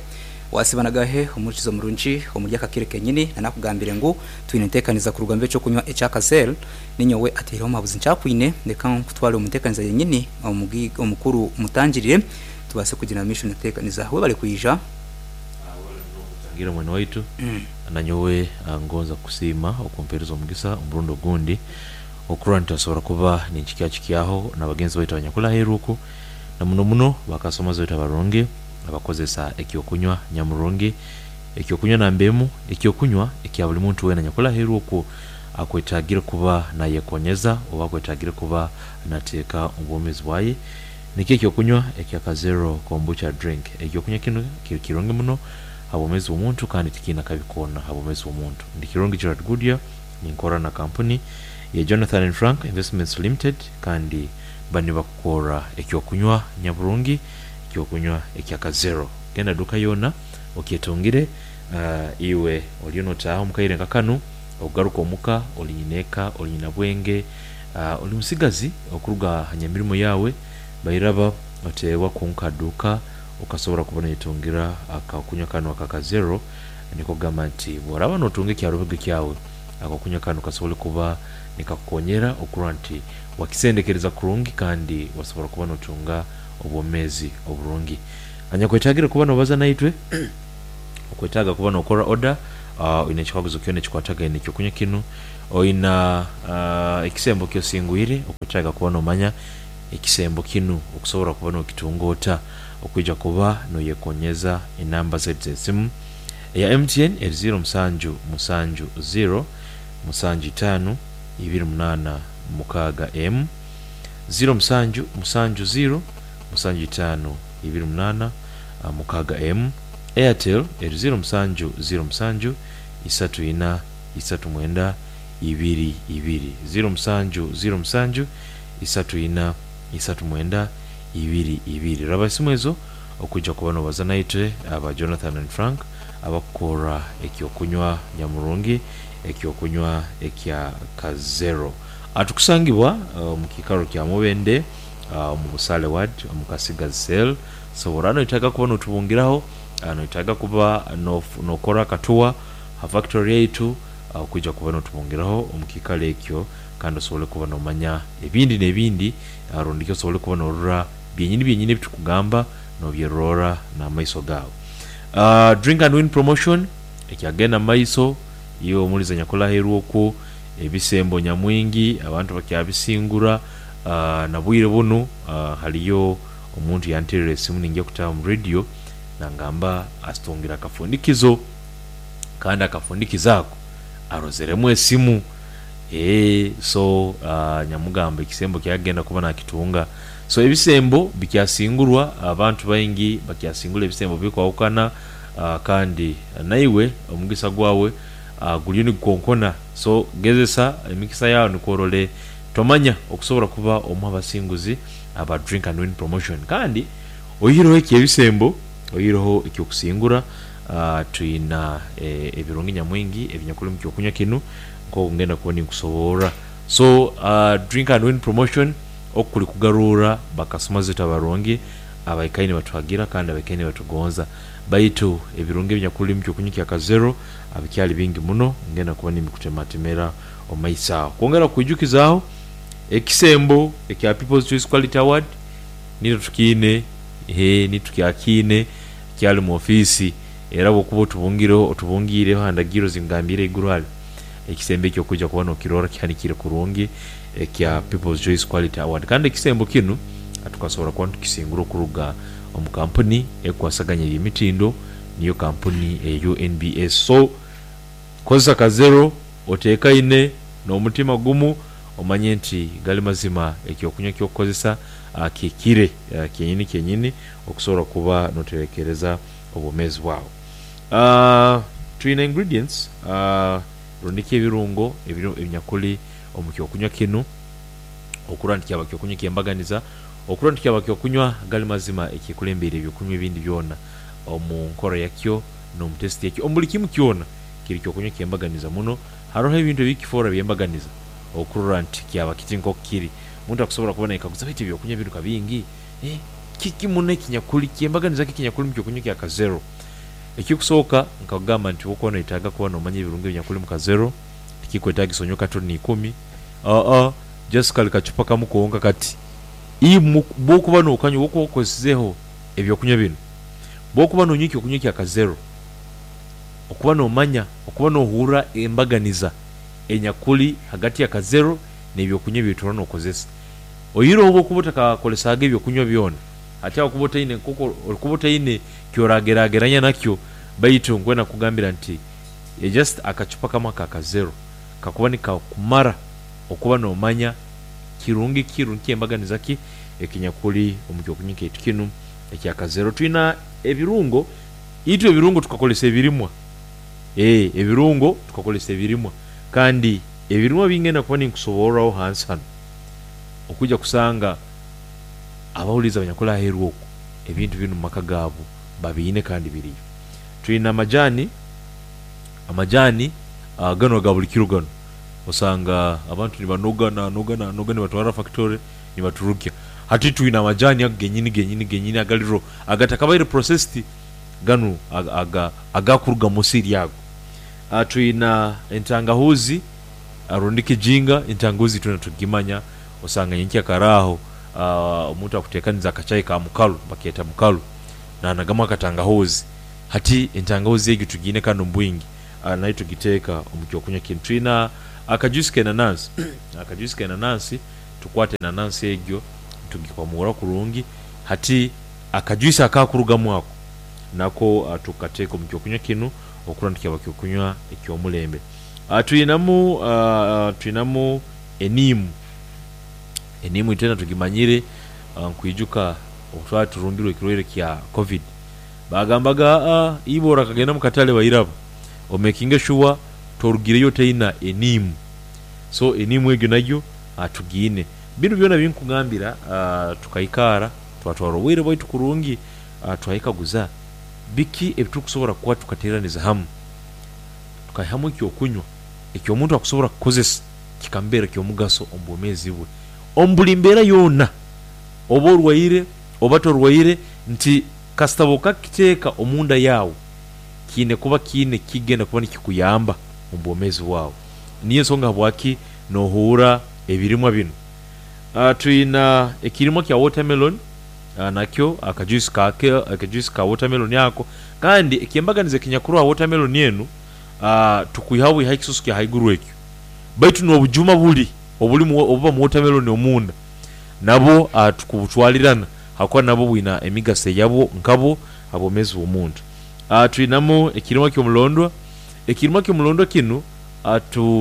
wasibanagahe umurikizo murungi omurya kakire kenyini nanakugambire ngu twinentekaniza ku rugambe cyo kunywa ecyakazel ninyowe atero mabuzi ncakwine ndeka kutwara umutekaniza yenyini omukuru mutangirire tubase kugira mission tekaniza we bali kuija ngira mwana waitu mm. Nanyowe ngonza kusima okumpereza omugisa omurundo gundi okuranta asobora kuba ninchikya chikyaho nabagenzi baitu abanyakula heruku Na muno muno bakasoma zote abarungi abakozesa ekyokunywa nyamurungi, ekyokunywa nambemu, ekyokunywa ekya buli muntu wena nyakola heru okwo akwetagire kuba nayekonyeza oba akwetagire kuba nateeka obwomeezi bwaye. Nikyo ekyokunywa ekya Kazero kombucha drink. Ekyokunywa kino kiri kirungi muno habwomezi bw'omuntu kandi tikiina kabi koona habwomezi bw'omuntu. Ndi Kirungi Gerard Goodyear, ninkora na kampuni ya Jonathan and Frank Investments Limited, kandi bani bakukora ekyokunywa nyaburungi, ekyokunywa ekya Kazero. Genda duka yona okyetungire. Uh, iwe oliyo notaaha omukaire nka kanu, ogaruka omuka oli nyineka, oli nyina bwenge, uh, oli musigazi okuruga hanyamirimo yawe bairaba otewa kunka duka okasobora kubona yetungira akakunywa kano aka Kazero. Niko gamba nti bworaba notunga ekyarubege kyawe, akakunywa kano kasobole kuba nikakukonyera okurora nti wakisendekereza kurungi kandi wasobora kuba notunga obwomezi oburungi. Anyakwetagire kuba nobaza naitwe okwetaga kuba nokora order, uh, oyina ekikaguzo kyona ekikwatagaine ekyokunywa kinu, oyina uh, ekisembo kyosingwire, okwetaga kuba nomanya ekisembo kinu okusobora kuba nokitunga ota okwija kuba noyekonyeza. Enamba zaitu z'esimu eya M T N eri ziro musanju musanju ziro musanju itaano ibiri munaana mukaaga M, ziro musanju musanju ziro musanju itaano ibiri munaana mukaaga M. Airtel eri ziro musanju ziro musanju isatu ina isatu mwenda ibiri ibiri, ziro musanju ziro musanju isatu ina isatu mwenda ibiri ibiri. Raba esimu ezo okujja kuba nobaza naitwe aba Jonathan and Frank abakukora ekyokunywa nyamurungi, ekyokunywa ekya Kazero. Atukusangibwa uh, mu kikaro kya Mubende, uh, mu Busale Ward, omu Kasigazi Cell. So orano itaga kuba notubungiraho, noitaga kuba nokora katuwa ha factory yaitu, okujja kuba notubungiraho omu kikaro ekyo, kandi osobole kuba nomanya ebindi n'ebindi, rundiki osobole kuba norora byenyini byenyini ebitukugamba nobyerora n'amaiso gawe. Uh, drink and win promotion ekyagenda maiso iyo omuliza nyakola heru okwo ebisembo nyamwingi abantu bakyabisingura. Uh, nabwire bunu uh, haliyo omuntu yanterera esimu ninja kutaba mu radio nangamba asitungira akafundikizo, kandi akafundikizo ako arozeremu esimu. E, so uh, nyamugamba ekisembo kyagenda kuba nakitunga. So ebisembo bikyasingurwa abantu baingi bakyasingula ebisembo bikwawukana, uh, kandi naiwe omugisa gwawe uh, guliyo nigukonkona. So gezesa emikisa yawe nikworole tomanya okusobora kuba omu abasinguzi aba drink and win promotion. Kandi oyiroho ekyebisembo, oyiroho ekyokusingura, uh, tuyina eh, ebirungi nyamwingi ebinyakuli mu kyokunywa kinu nk'okugenda kuba ninkusoborra. So uh, drink and win promotion okuli kugarura bakasoma zetu abarungi abaikaine batuhagira kandi abaikaine batugonza, baitu ebirungi ebinyakuli mu kyokunywa kya Kazero abikyali bingi muno ngenda kuba nimikutematemera omu maiso aho. Kwongera kwijukizaaho ekisembo ekya People's Choice Quality Award nito tukiine, he nitukyakine kyali mu ofiisi, era bwokuba otubungireho otubungiireho handagiro zingambire iguru hali ekisembo ekyo okujja kuba nokirora kihanikire kurungi ekya People's Choice Quality Award. Kandi ekisembo kinu tukasobora kuba tukisingura okuruga omu kampuni ekwasaganya ebyemitindo, niyo kampuni eyo N B S. So kozesa Kazero oteekaine n'omutima gumu, omanye nti gali mazima ekyokunywa ekyokukozesa kikire kyenyini kyenyini okusobola kuba noterekereza obwomeezi bwawe. Uh, tuyina ingredients, uh, rundiki ebirungo ebinyakuli omu kyokunywa kinu okurora nti kyaba kyokunywa kyembaganiza, okurora nti kyaba kyokunywa gali mazima ekikulembeire ebyokunywa ebindi byona omu nkora yakyo n'omu test yakyo omu buli kimu kyona kiri kyokunywa kyembaganiza muno. Haroho ebintu ebikifora byembaganiza okurora nti kyaba kiti nk'oku kiri. Omuntu akusobola kuba naikaguza baitu ebyokunywa biruka bingi, eh, kiki muno ekinyakuli kyembaganiza ki ekinyakuli mu kyokunywa kya Kazero. Ekikusooka nkakugamba nti wokuba noetaaga kuba nomanya ebirungo ebinyakuli mu Kazero, tikikwetagisa onywe katoni ikumi, aa just kali kacupa kamu konka kati. Imu bwokuba nokanywa, bwokuba okozeseho ebyokunywa bino, bwokuba nonywa ekyokunywa kya Kazero, okuba nomanya, okuba nohurra embaganiza enyakuli hagati ya Kazero n'ebyokunywa ebyotura nokozesa. Oyiroho bwokuba otakakolesaga ebyokunywa byona, Hati aho kuba otaine nk'oku orikuba otaine kyorageraageranya nakyo, baitu nkwenda kukugambira nti just akacupa kamwe aka kazero kakuba nikakumara okuba noomanya kirungi ki rundi kyembaganiza ki ekinyakuli omu kyokunywa kyaitu kinu ekya kazero. Twina ebirungo, itwe ebirungo tukakozesa ebirimwa eeh ebirungo tukakozesa ebirimwa kandi ebirimwa bingenda kuba ninkusoborraho hansi hanu okwija kusanga abahuliiriza abanyakuli aheeru oku ebintu binu omu maka gaabu babiine kandi biriyo. Twina amajaani, amajaani ganu aga buli kiro ganu osanga abantu nibanoga nanoga nanoga nibatwara fakitore nibaturukya. Hati twina amajaani ago genyini genyini genyini agali raw agatakabaire processed ganu aga agakuruga musiri ago. Twina entangahuzi rundi kijinga, entangahuzi twena tukugimanya osanga nyenkyakara aho omuntu akuteekaniza akachai ka mukalu bakeeta mukalu nanagamu akatangahuzi. Hati entangahuzi egyo tugiine kanu omu bwingi nayo tugiteeka omu kyokunywa kinu. Twina akajuice k'enanansi, akajuice k'enanansi tukwata enanansi egyo tugikwamura kurungi hati akajuice akakurugamu ako nako tukateeka omu kyokunywa kinu okurora nti kyaba kyokunywa eky'omulembe. Twinamu twinamu eniimu, eniimu itwena tugimanyire nkwijuka obu twali turumbirwe ekirwaire kya Covid baagambaga aa iwe orakagenda omu katale bairaba omekinge shuwa torugireyo otaina eniimu. So eniimu egyo nayo tugiine. Binu byona binkugambira tukaikaara twatwara obwire bwaitu kurungi twayekaguza biki ebitukusobola kuba tukateeraniza hamu tukaihamu ekyokunywa eky'omuntu akusobola kukozesa kikamubeera ky'omugaso omu bwomeezi bwe omu buli mbeera yoona oba orwaire oba torwaire nti kasita okakiteeka omunda yaawe kiine kuba kiine kikigenda kuba nikikuyamba omu bwomeezi bwawe. Niyo ensonga habwaki noohuura ebirimwa binu. Twina ekirimwa kya watermelon nakyo akajuice kaakyo akajuice ka watermelon ako kandi ekyembaganiza ekinyakuroho ha watermelon enu tukwihaho bwihaho ekisusu kya haiguru ekyo baitu n'obujuma buli obulimu obuba mu watermelon omunda nabwo tukubutwalirana habwokuba nabwo bwina emigaso eyabwo nkabwo ha bwomeezi bw'omuntu. Twinamu ekirimwa ky'omulondwa, ekirimwa ky'omulondwa kinu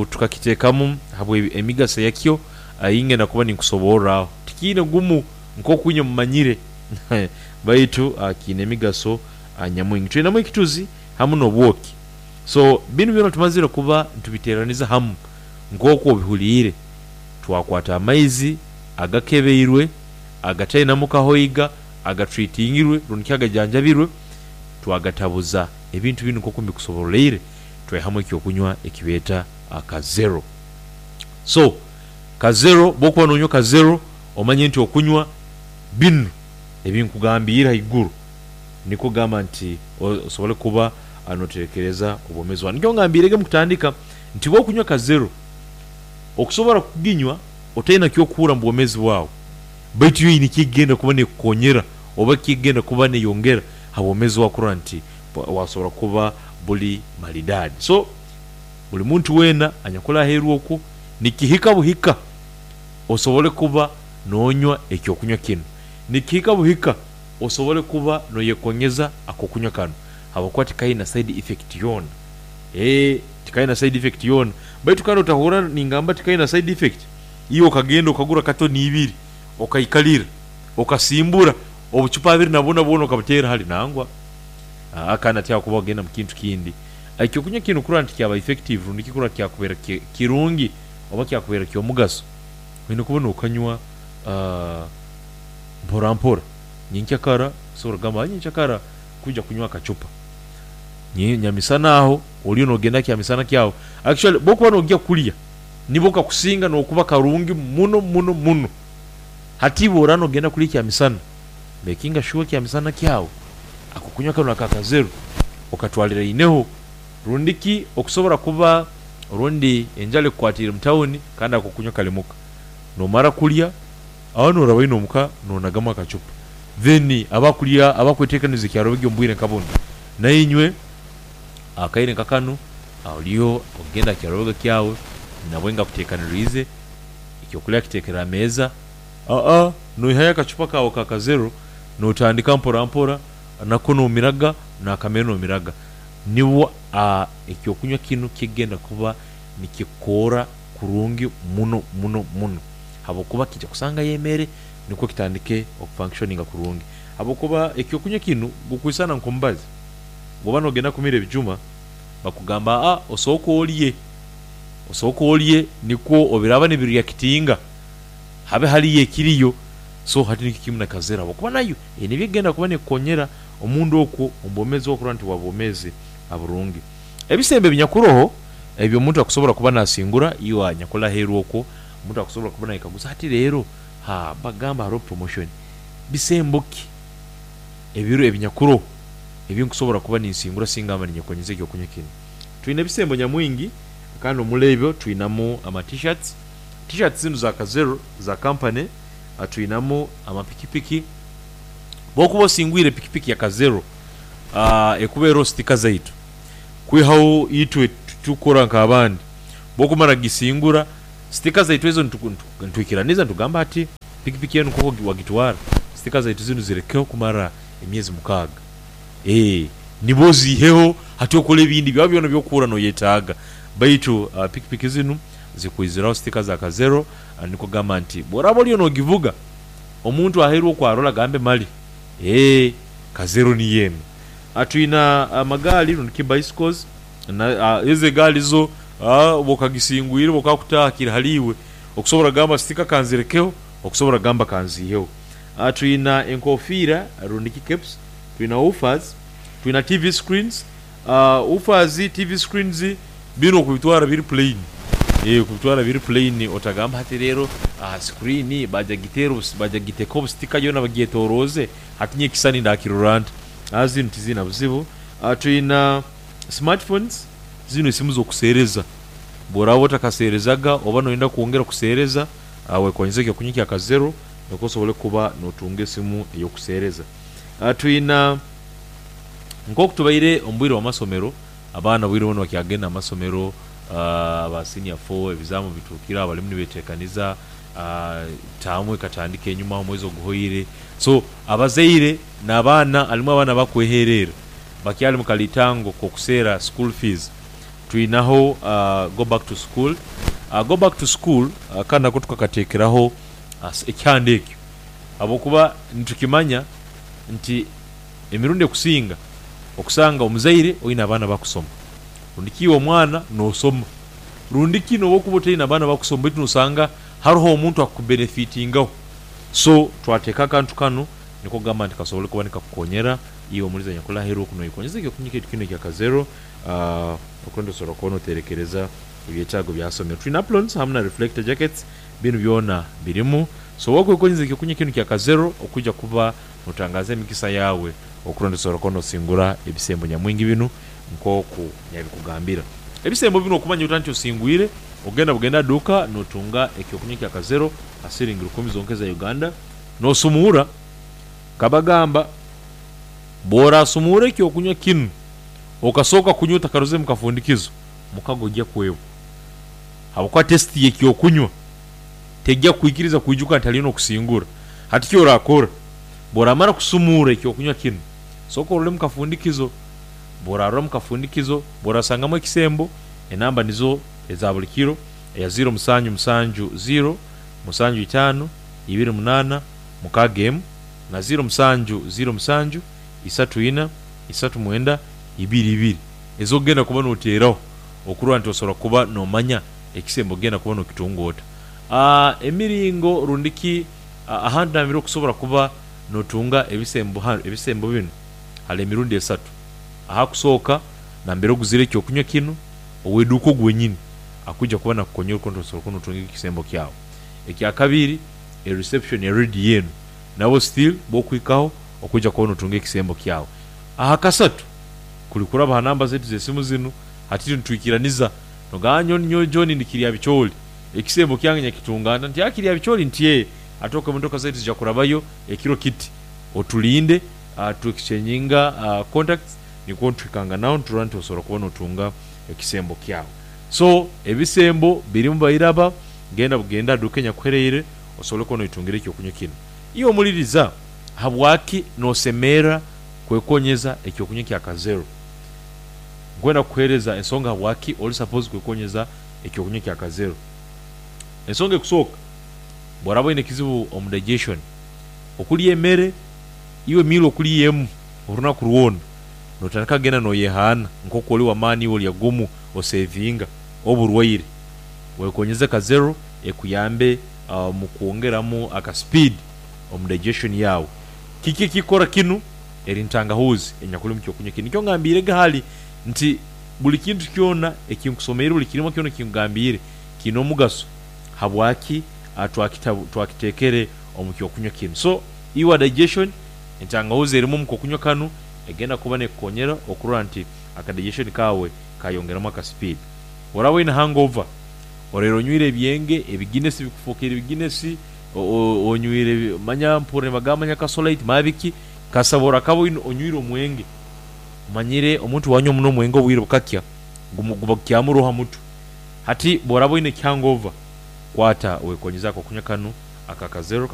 tukakiteekamu habwa emigaso yakyo eyingenda kuba ninkusoborraho. Tikiine gumu nk'oku inywe mumanyire baitu kiine emigaso nyamwingi. Twinamu ekituzi hamu n'obwoki. So binu byona tumazire kuba nitubiteeraniza hamu nk'oku obihuliire, twakwata amaizi agakebeirwe, agatainamu kahoiga, agatreatingirwe rundi ki agajanjabirwe twagatabuza ebintu binu nk'oku mbikusoboroleire twaihamu ekyokunywa ekibeeta kazero. So kazero bw'okuba noonywa kazero omanye nti okunywa binu ebinkugambiire haiguru nikwo kugamba nti osobole kuba nooterekereza obwomeezi bwawe. Nikyo ngambiirege omu kutandika nti bw'okunywa kazero, okusobora kuginywa otaina ky'okuhuura omu bwomeezi bwawe baitu yo eine kyekugenda kuba neekukonyera oba kyekugenda kuba neeyongera ha bwomeezi bwawe kurora nti wasobora kuba buli maridadi. So buli muntu weena anyakuli aheeru okwo nikihika buhika osobole kuba noonywa ekyokunywa kinu. Nikihika buhika osobole kuba nooyekonyeza ak'okunywa kanu habwokuba tikaina side effect yoona. Eeh tikaina side effect yoona. Baitu kandi otahuura ningamba tikaina side effect, iwe okagenda okagura katoni ibiri okaikalira, okasimbura obucupa abiri na buna bwona okabuteera hali nangwa. Aa kandi hati aho kuba ogenda mu kintu kindi. Ekyokunywa kinu kurora nti kyaba effective rundi ki kurora kyakubeera kirungi oba kyakubeera ky'omugaso, oine kuba nookanywa mpora mpora. Nyenkyakara osobola kugamba nyenkyakara kwija kunywa akacupa, nyamisana aho oriyo noogenda kyamisana kyawe. Actually bw'okuba noogya kulya nibwo kakusinga n'okuba karungi muno muno muno. Hati iwe oraaba noogenda kulya ekyamisana, mekinga shuwa ekyamisana kyawe akokunywa kanu aka kazero okatwaliraineho rundi ki okusobora kuba orundi enjara ekukwatiire mu tawuni kandi akokunywa kali muka. Noomara kulya aho nooraba omuka noonagamu akacupa then abakulya abakweteekaniza ekyarobegi omu bwire nka bunu nainywe akaire nka kanu oriyo okugenda aha kyarobega kyawe nabwe akuteekaniriize ekyokulya akiteekere aha meeza, aa noihayo akacupa kaawe ka kazero Notandika mpora mpora nako nomiraga nakamere nomiraga nibwo ekyokunywa kinu kigenda kuba nikikora kurungi muno muno muno, habwokuba kijja kusangayo emere nikwo kitandike okufunctioninga kurungi, habwokuba ekyokunywa kinu gukwisana nkomubazi. Bwoba nogenda kumira ebijuma bakugamba aa osooke olye, osooke olye nikwo obiraba nibireactinga habe haliyo ekiriyo. So hati nikyo kimu na kazero habwokuba nayo eyine ebyekugenda kuba nekukonyera omunda okwo omubwomezi bwawe okurora nti waba bwomezi burungi. Ebisembo ebinyakuroho ebyo omuntu akusobora kuba nasingura iwe anyakuli aheru okwo omuntu akusobora kuba nayekaguza hati leero haa bagamba haroho promotion, bisembo ki ebiro ebinyakuroho ebinkusobora kuba ninsingura singa mba ninyekonyeza ekyokunywa kinu? Twine ebisembo nyamwingi kandi omuli ebyo twinamu ama t-shirts, t-shirts zinu za kazero za kampani, twinamu amapikipiki. Bwokuba osingwire pikipiki ya kazero ekuba eroho sitika zaitu kwihaho itwe titukukora nk'abandi. Bwokumara kugisingura sitika zaitu ezo nitwikiraniza nitugamba hati pikipiki enu nkoku wagitwara sitika zaitu zinu zirekeho kumara emyezi mukaaga, nibwo oziiheho hati okole ebindi byawe byona ebyokuhura noyetaaga. Baitu pikipiki zinu zikwiziraho sitika za kazero nikwo kugamba nti bworaba oliyo nogivuga omuntu aheru oku arole agambe mali kazero niyo enu. Twina amagaali rundi ki bicycles, ezo egaali zo bwoba okagisingwire bwokakutaaha kiri hali iwe okusobora kugamba sitika kanzirekeho okusobora kugamba kanziiheho. Twina enkofiira rundi ki caps, twina woofers, twina T V screens, woofers, T V screens binu okubitwara biri plain, okubitwara biri plain otagamba hati leero screen baija kugiteekaho obusitika yoona bagyetoroze hati nyowe ekisani ndakirora nta? Zinu tiziina buzibu. Twina smartphones, zinu esimu z'okuseereza bworaba otakaseerezaga oba noyenda kwongera kuseereza wekonyeze ekyokunywa kya kazero nikwo osobole kuba notunga esimu ey'okuseereza. Twina nkoku tubaire omu bwire bw'amasomero, abaana obwire bunu bakyagenda omu masomero, aba senior four ebizaamu bituukire aho balimu nibeteekaniza, taamu ekatandika enyuma omwezi oguhoire, so abazaire n'abaana halimu abaana abakweherera bakyali mukalitango k'okuseera school fees. Twinaho go back to school, go back to school kanu nako tukakateekeraho ekyanda ekyo habwokuba nitukimanya nti emirundi ekusinga okusanga omuzaire oine abaana bakusoma rundi ki iwe omwana nosoma rundi ki nobu okuba otaine baana bakusoma baitu nosanga haroho omuntu akubenefitingaho. So twateeka akantu kanu nikwo kugamba nti kasobole kuba nikakukonyera iwe omulizi anyakuli aheru oku noyekonyeza ekyokunywa kyaitu kinu ekya kazero okurora nti osobola kuba noterekereza ebyetaago bya ha somero. Twine aprons hamu na reflector jackets, binu byona birimu. So wokwekonyeza ekyokunywa kinu kya kazero okwija kuba notangaza emikisa yawe okurora nti osobola kuba nosingura ebisembo nyamwingi binu nkoku nabikugambira. Ebisembo binu okumanya ota nti osingwire, ogenda bugenda aha duuka notunga ekyokunywa kya kazero ha siringi rukumi zonka eza Uganda nosumuura. Nkabagamba bworasumuura ekyokunywa kinu okasooka kunywa otakarozere mukafundikizo, mukago ojja kwebwa habwokuba testi y'ekyokunywa tejja kukwikiriza kwijuka nti haliyo n'okusingura. Hati kyorakora bworamara kusumuura ekyokunywa kinu, sooka orole mukafundikizo, bworarora mukafundikizo bworasangamu ekisembo, enamba nizo eza buli kiro eya ziro musanju musanju ziro musanju itaano ibiri munaana mukaaga emu na ziro musanju ziro musanju isatu ina isatu mwenda ibiri ibiri ez'okugenda kuba noteeraho okurora nti osobola kuba nomanya ekisembo okugenda kuba nokitunga ota. Emiringo rundi ki ahantu nambere okusobora kuba notunga ebisembo ebisembo binu hali emirundi esatu. Ahakusooka nambere oguzire ekyokunywa kinu ow'eduuka ogu wenyini akwija kuba nakukonyera okurora nti osobola kuba notunga ekisembo kyawe. Ekyakabiri e reception ya rediyo enu nabo still bwokuhikaho okwija kuba notunga ekisembo kyawe. Ahakasatu kuli kuraba ha namba zaitu z'esimu zinu hati nitwikiraniza nogamba nyowe John ndi Kiryabichooli ekisembo kyange nyakitunga nta nti aa Kiryabichooli nti ee ate okwo emotoka zaitu zija kurabayo ekiro kiti otulinde tu exchanginga contacts nikwo nituhikanganaho niturora nti osobola kuba notunga ekisembo kyawe. So ebisembo birimu bairaba genda bugenda aha duuka enyakuhereire osobole kuba noitungira ekyokunywa kinu. Iwe omuliriza Habwaki nosemera kwekonyeza ekyokunywa kya Kazero? Nkwenda kukuhereza ensonga habwaki oli supposed kwekonyeza ekyokunywa kya Kazero. Ensonga ekusooka, bworaba oine ekizibu omu digestion, okulya emere, iwe meal okulya emu orunaku rwona, notandika kugenda noyehaana nkoku oli wamaani iwe olya gumu osevinga oburwaire. Wekonyeze Kazero ekuyambe omu kwongeramu aka speed omu digestion yaawe. Kiki ekikora kinu? Eri ntangahuzi enyakuli omu kyokunywa kinu. Nikyo ngambiirege hali nti buli kintu kyona ekinkusomeire, buli kirimwa kyona ekinkugambiire kiine omugaso habwaki twakitekere omu kyokunywa kinu. So iwe digestion, entangahuzi erimu omu kokunywa kanu egenda kuba nekukonyera okurora nti aka digestion kaawe kayongeramu aka speed. Oraba oine hangover, oraire onywire ebyenge, ebiginesi bikufukire ebiginesi, onywire manya mpurra nibagamba manya kasolite manya biki, kasabora kaba onywire omwenge. Omanyire omuntu bwanywa muno omwenge obwire bukakya guba gukyamuroho ha mutwe. Hati bworaba oine hangover, kwata wekonyeze akokunywa kanu aka Kazero.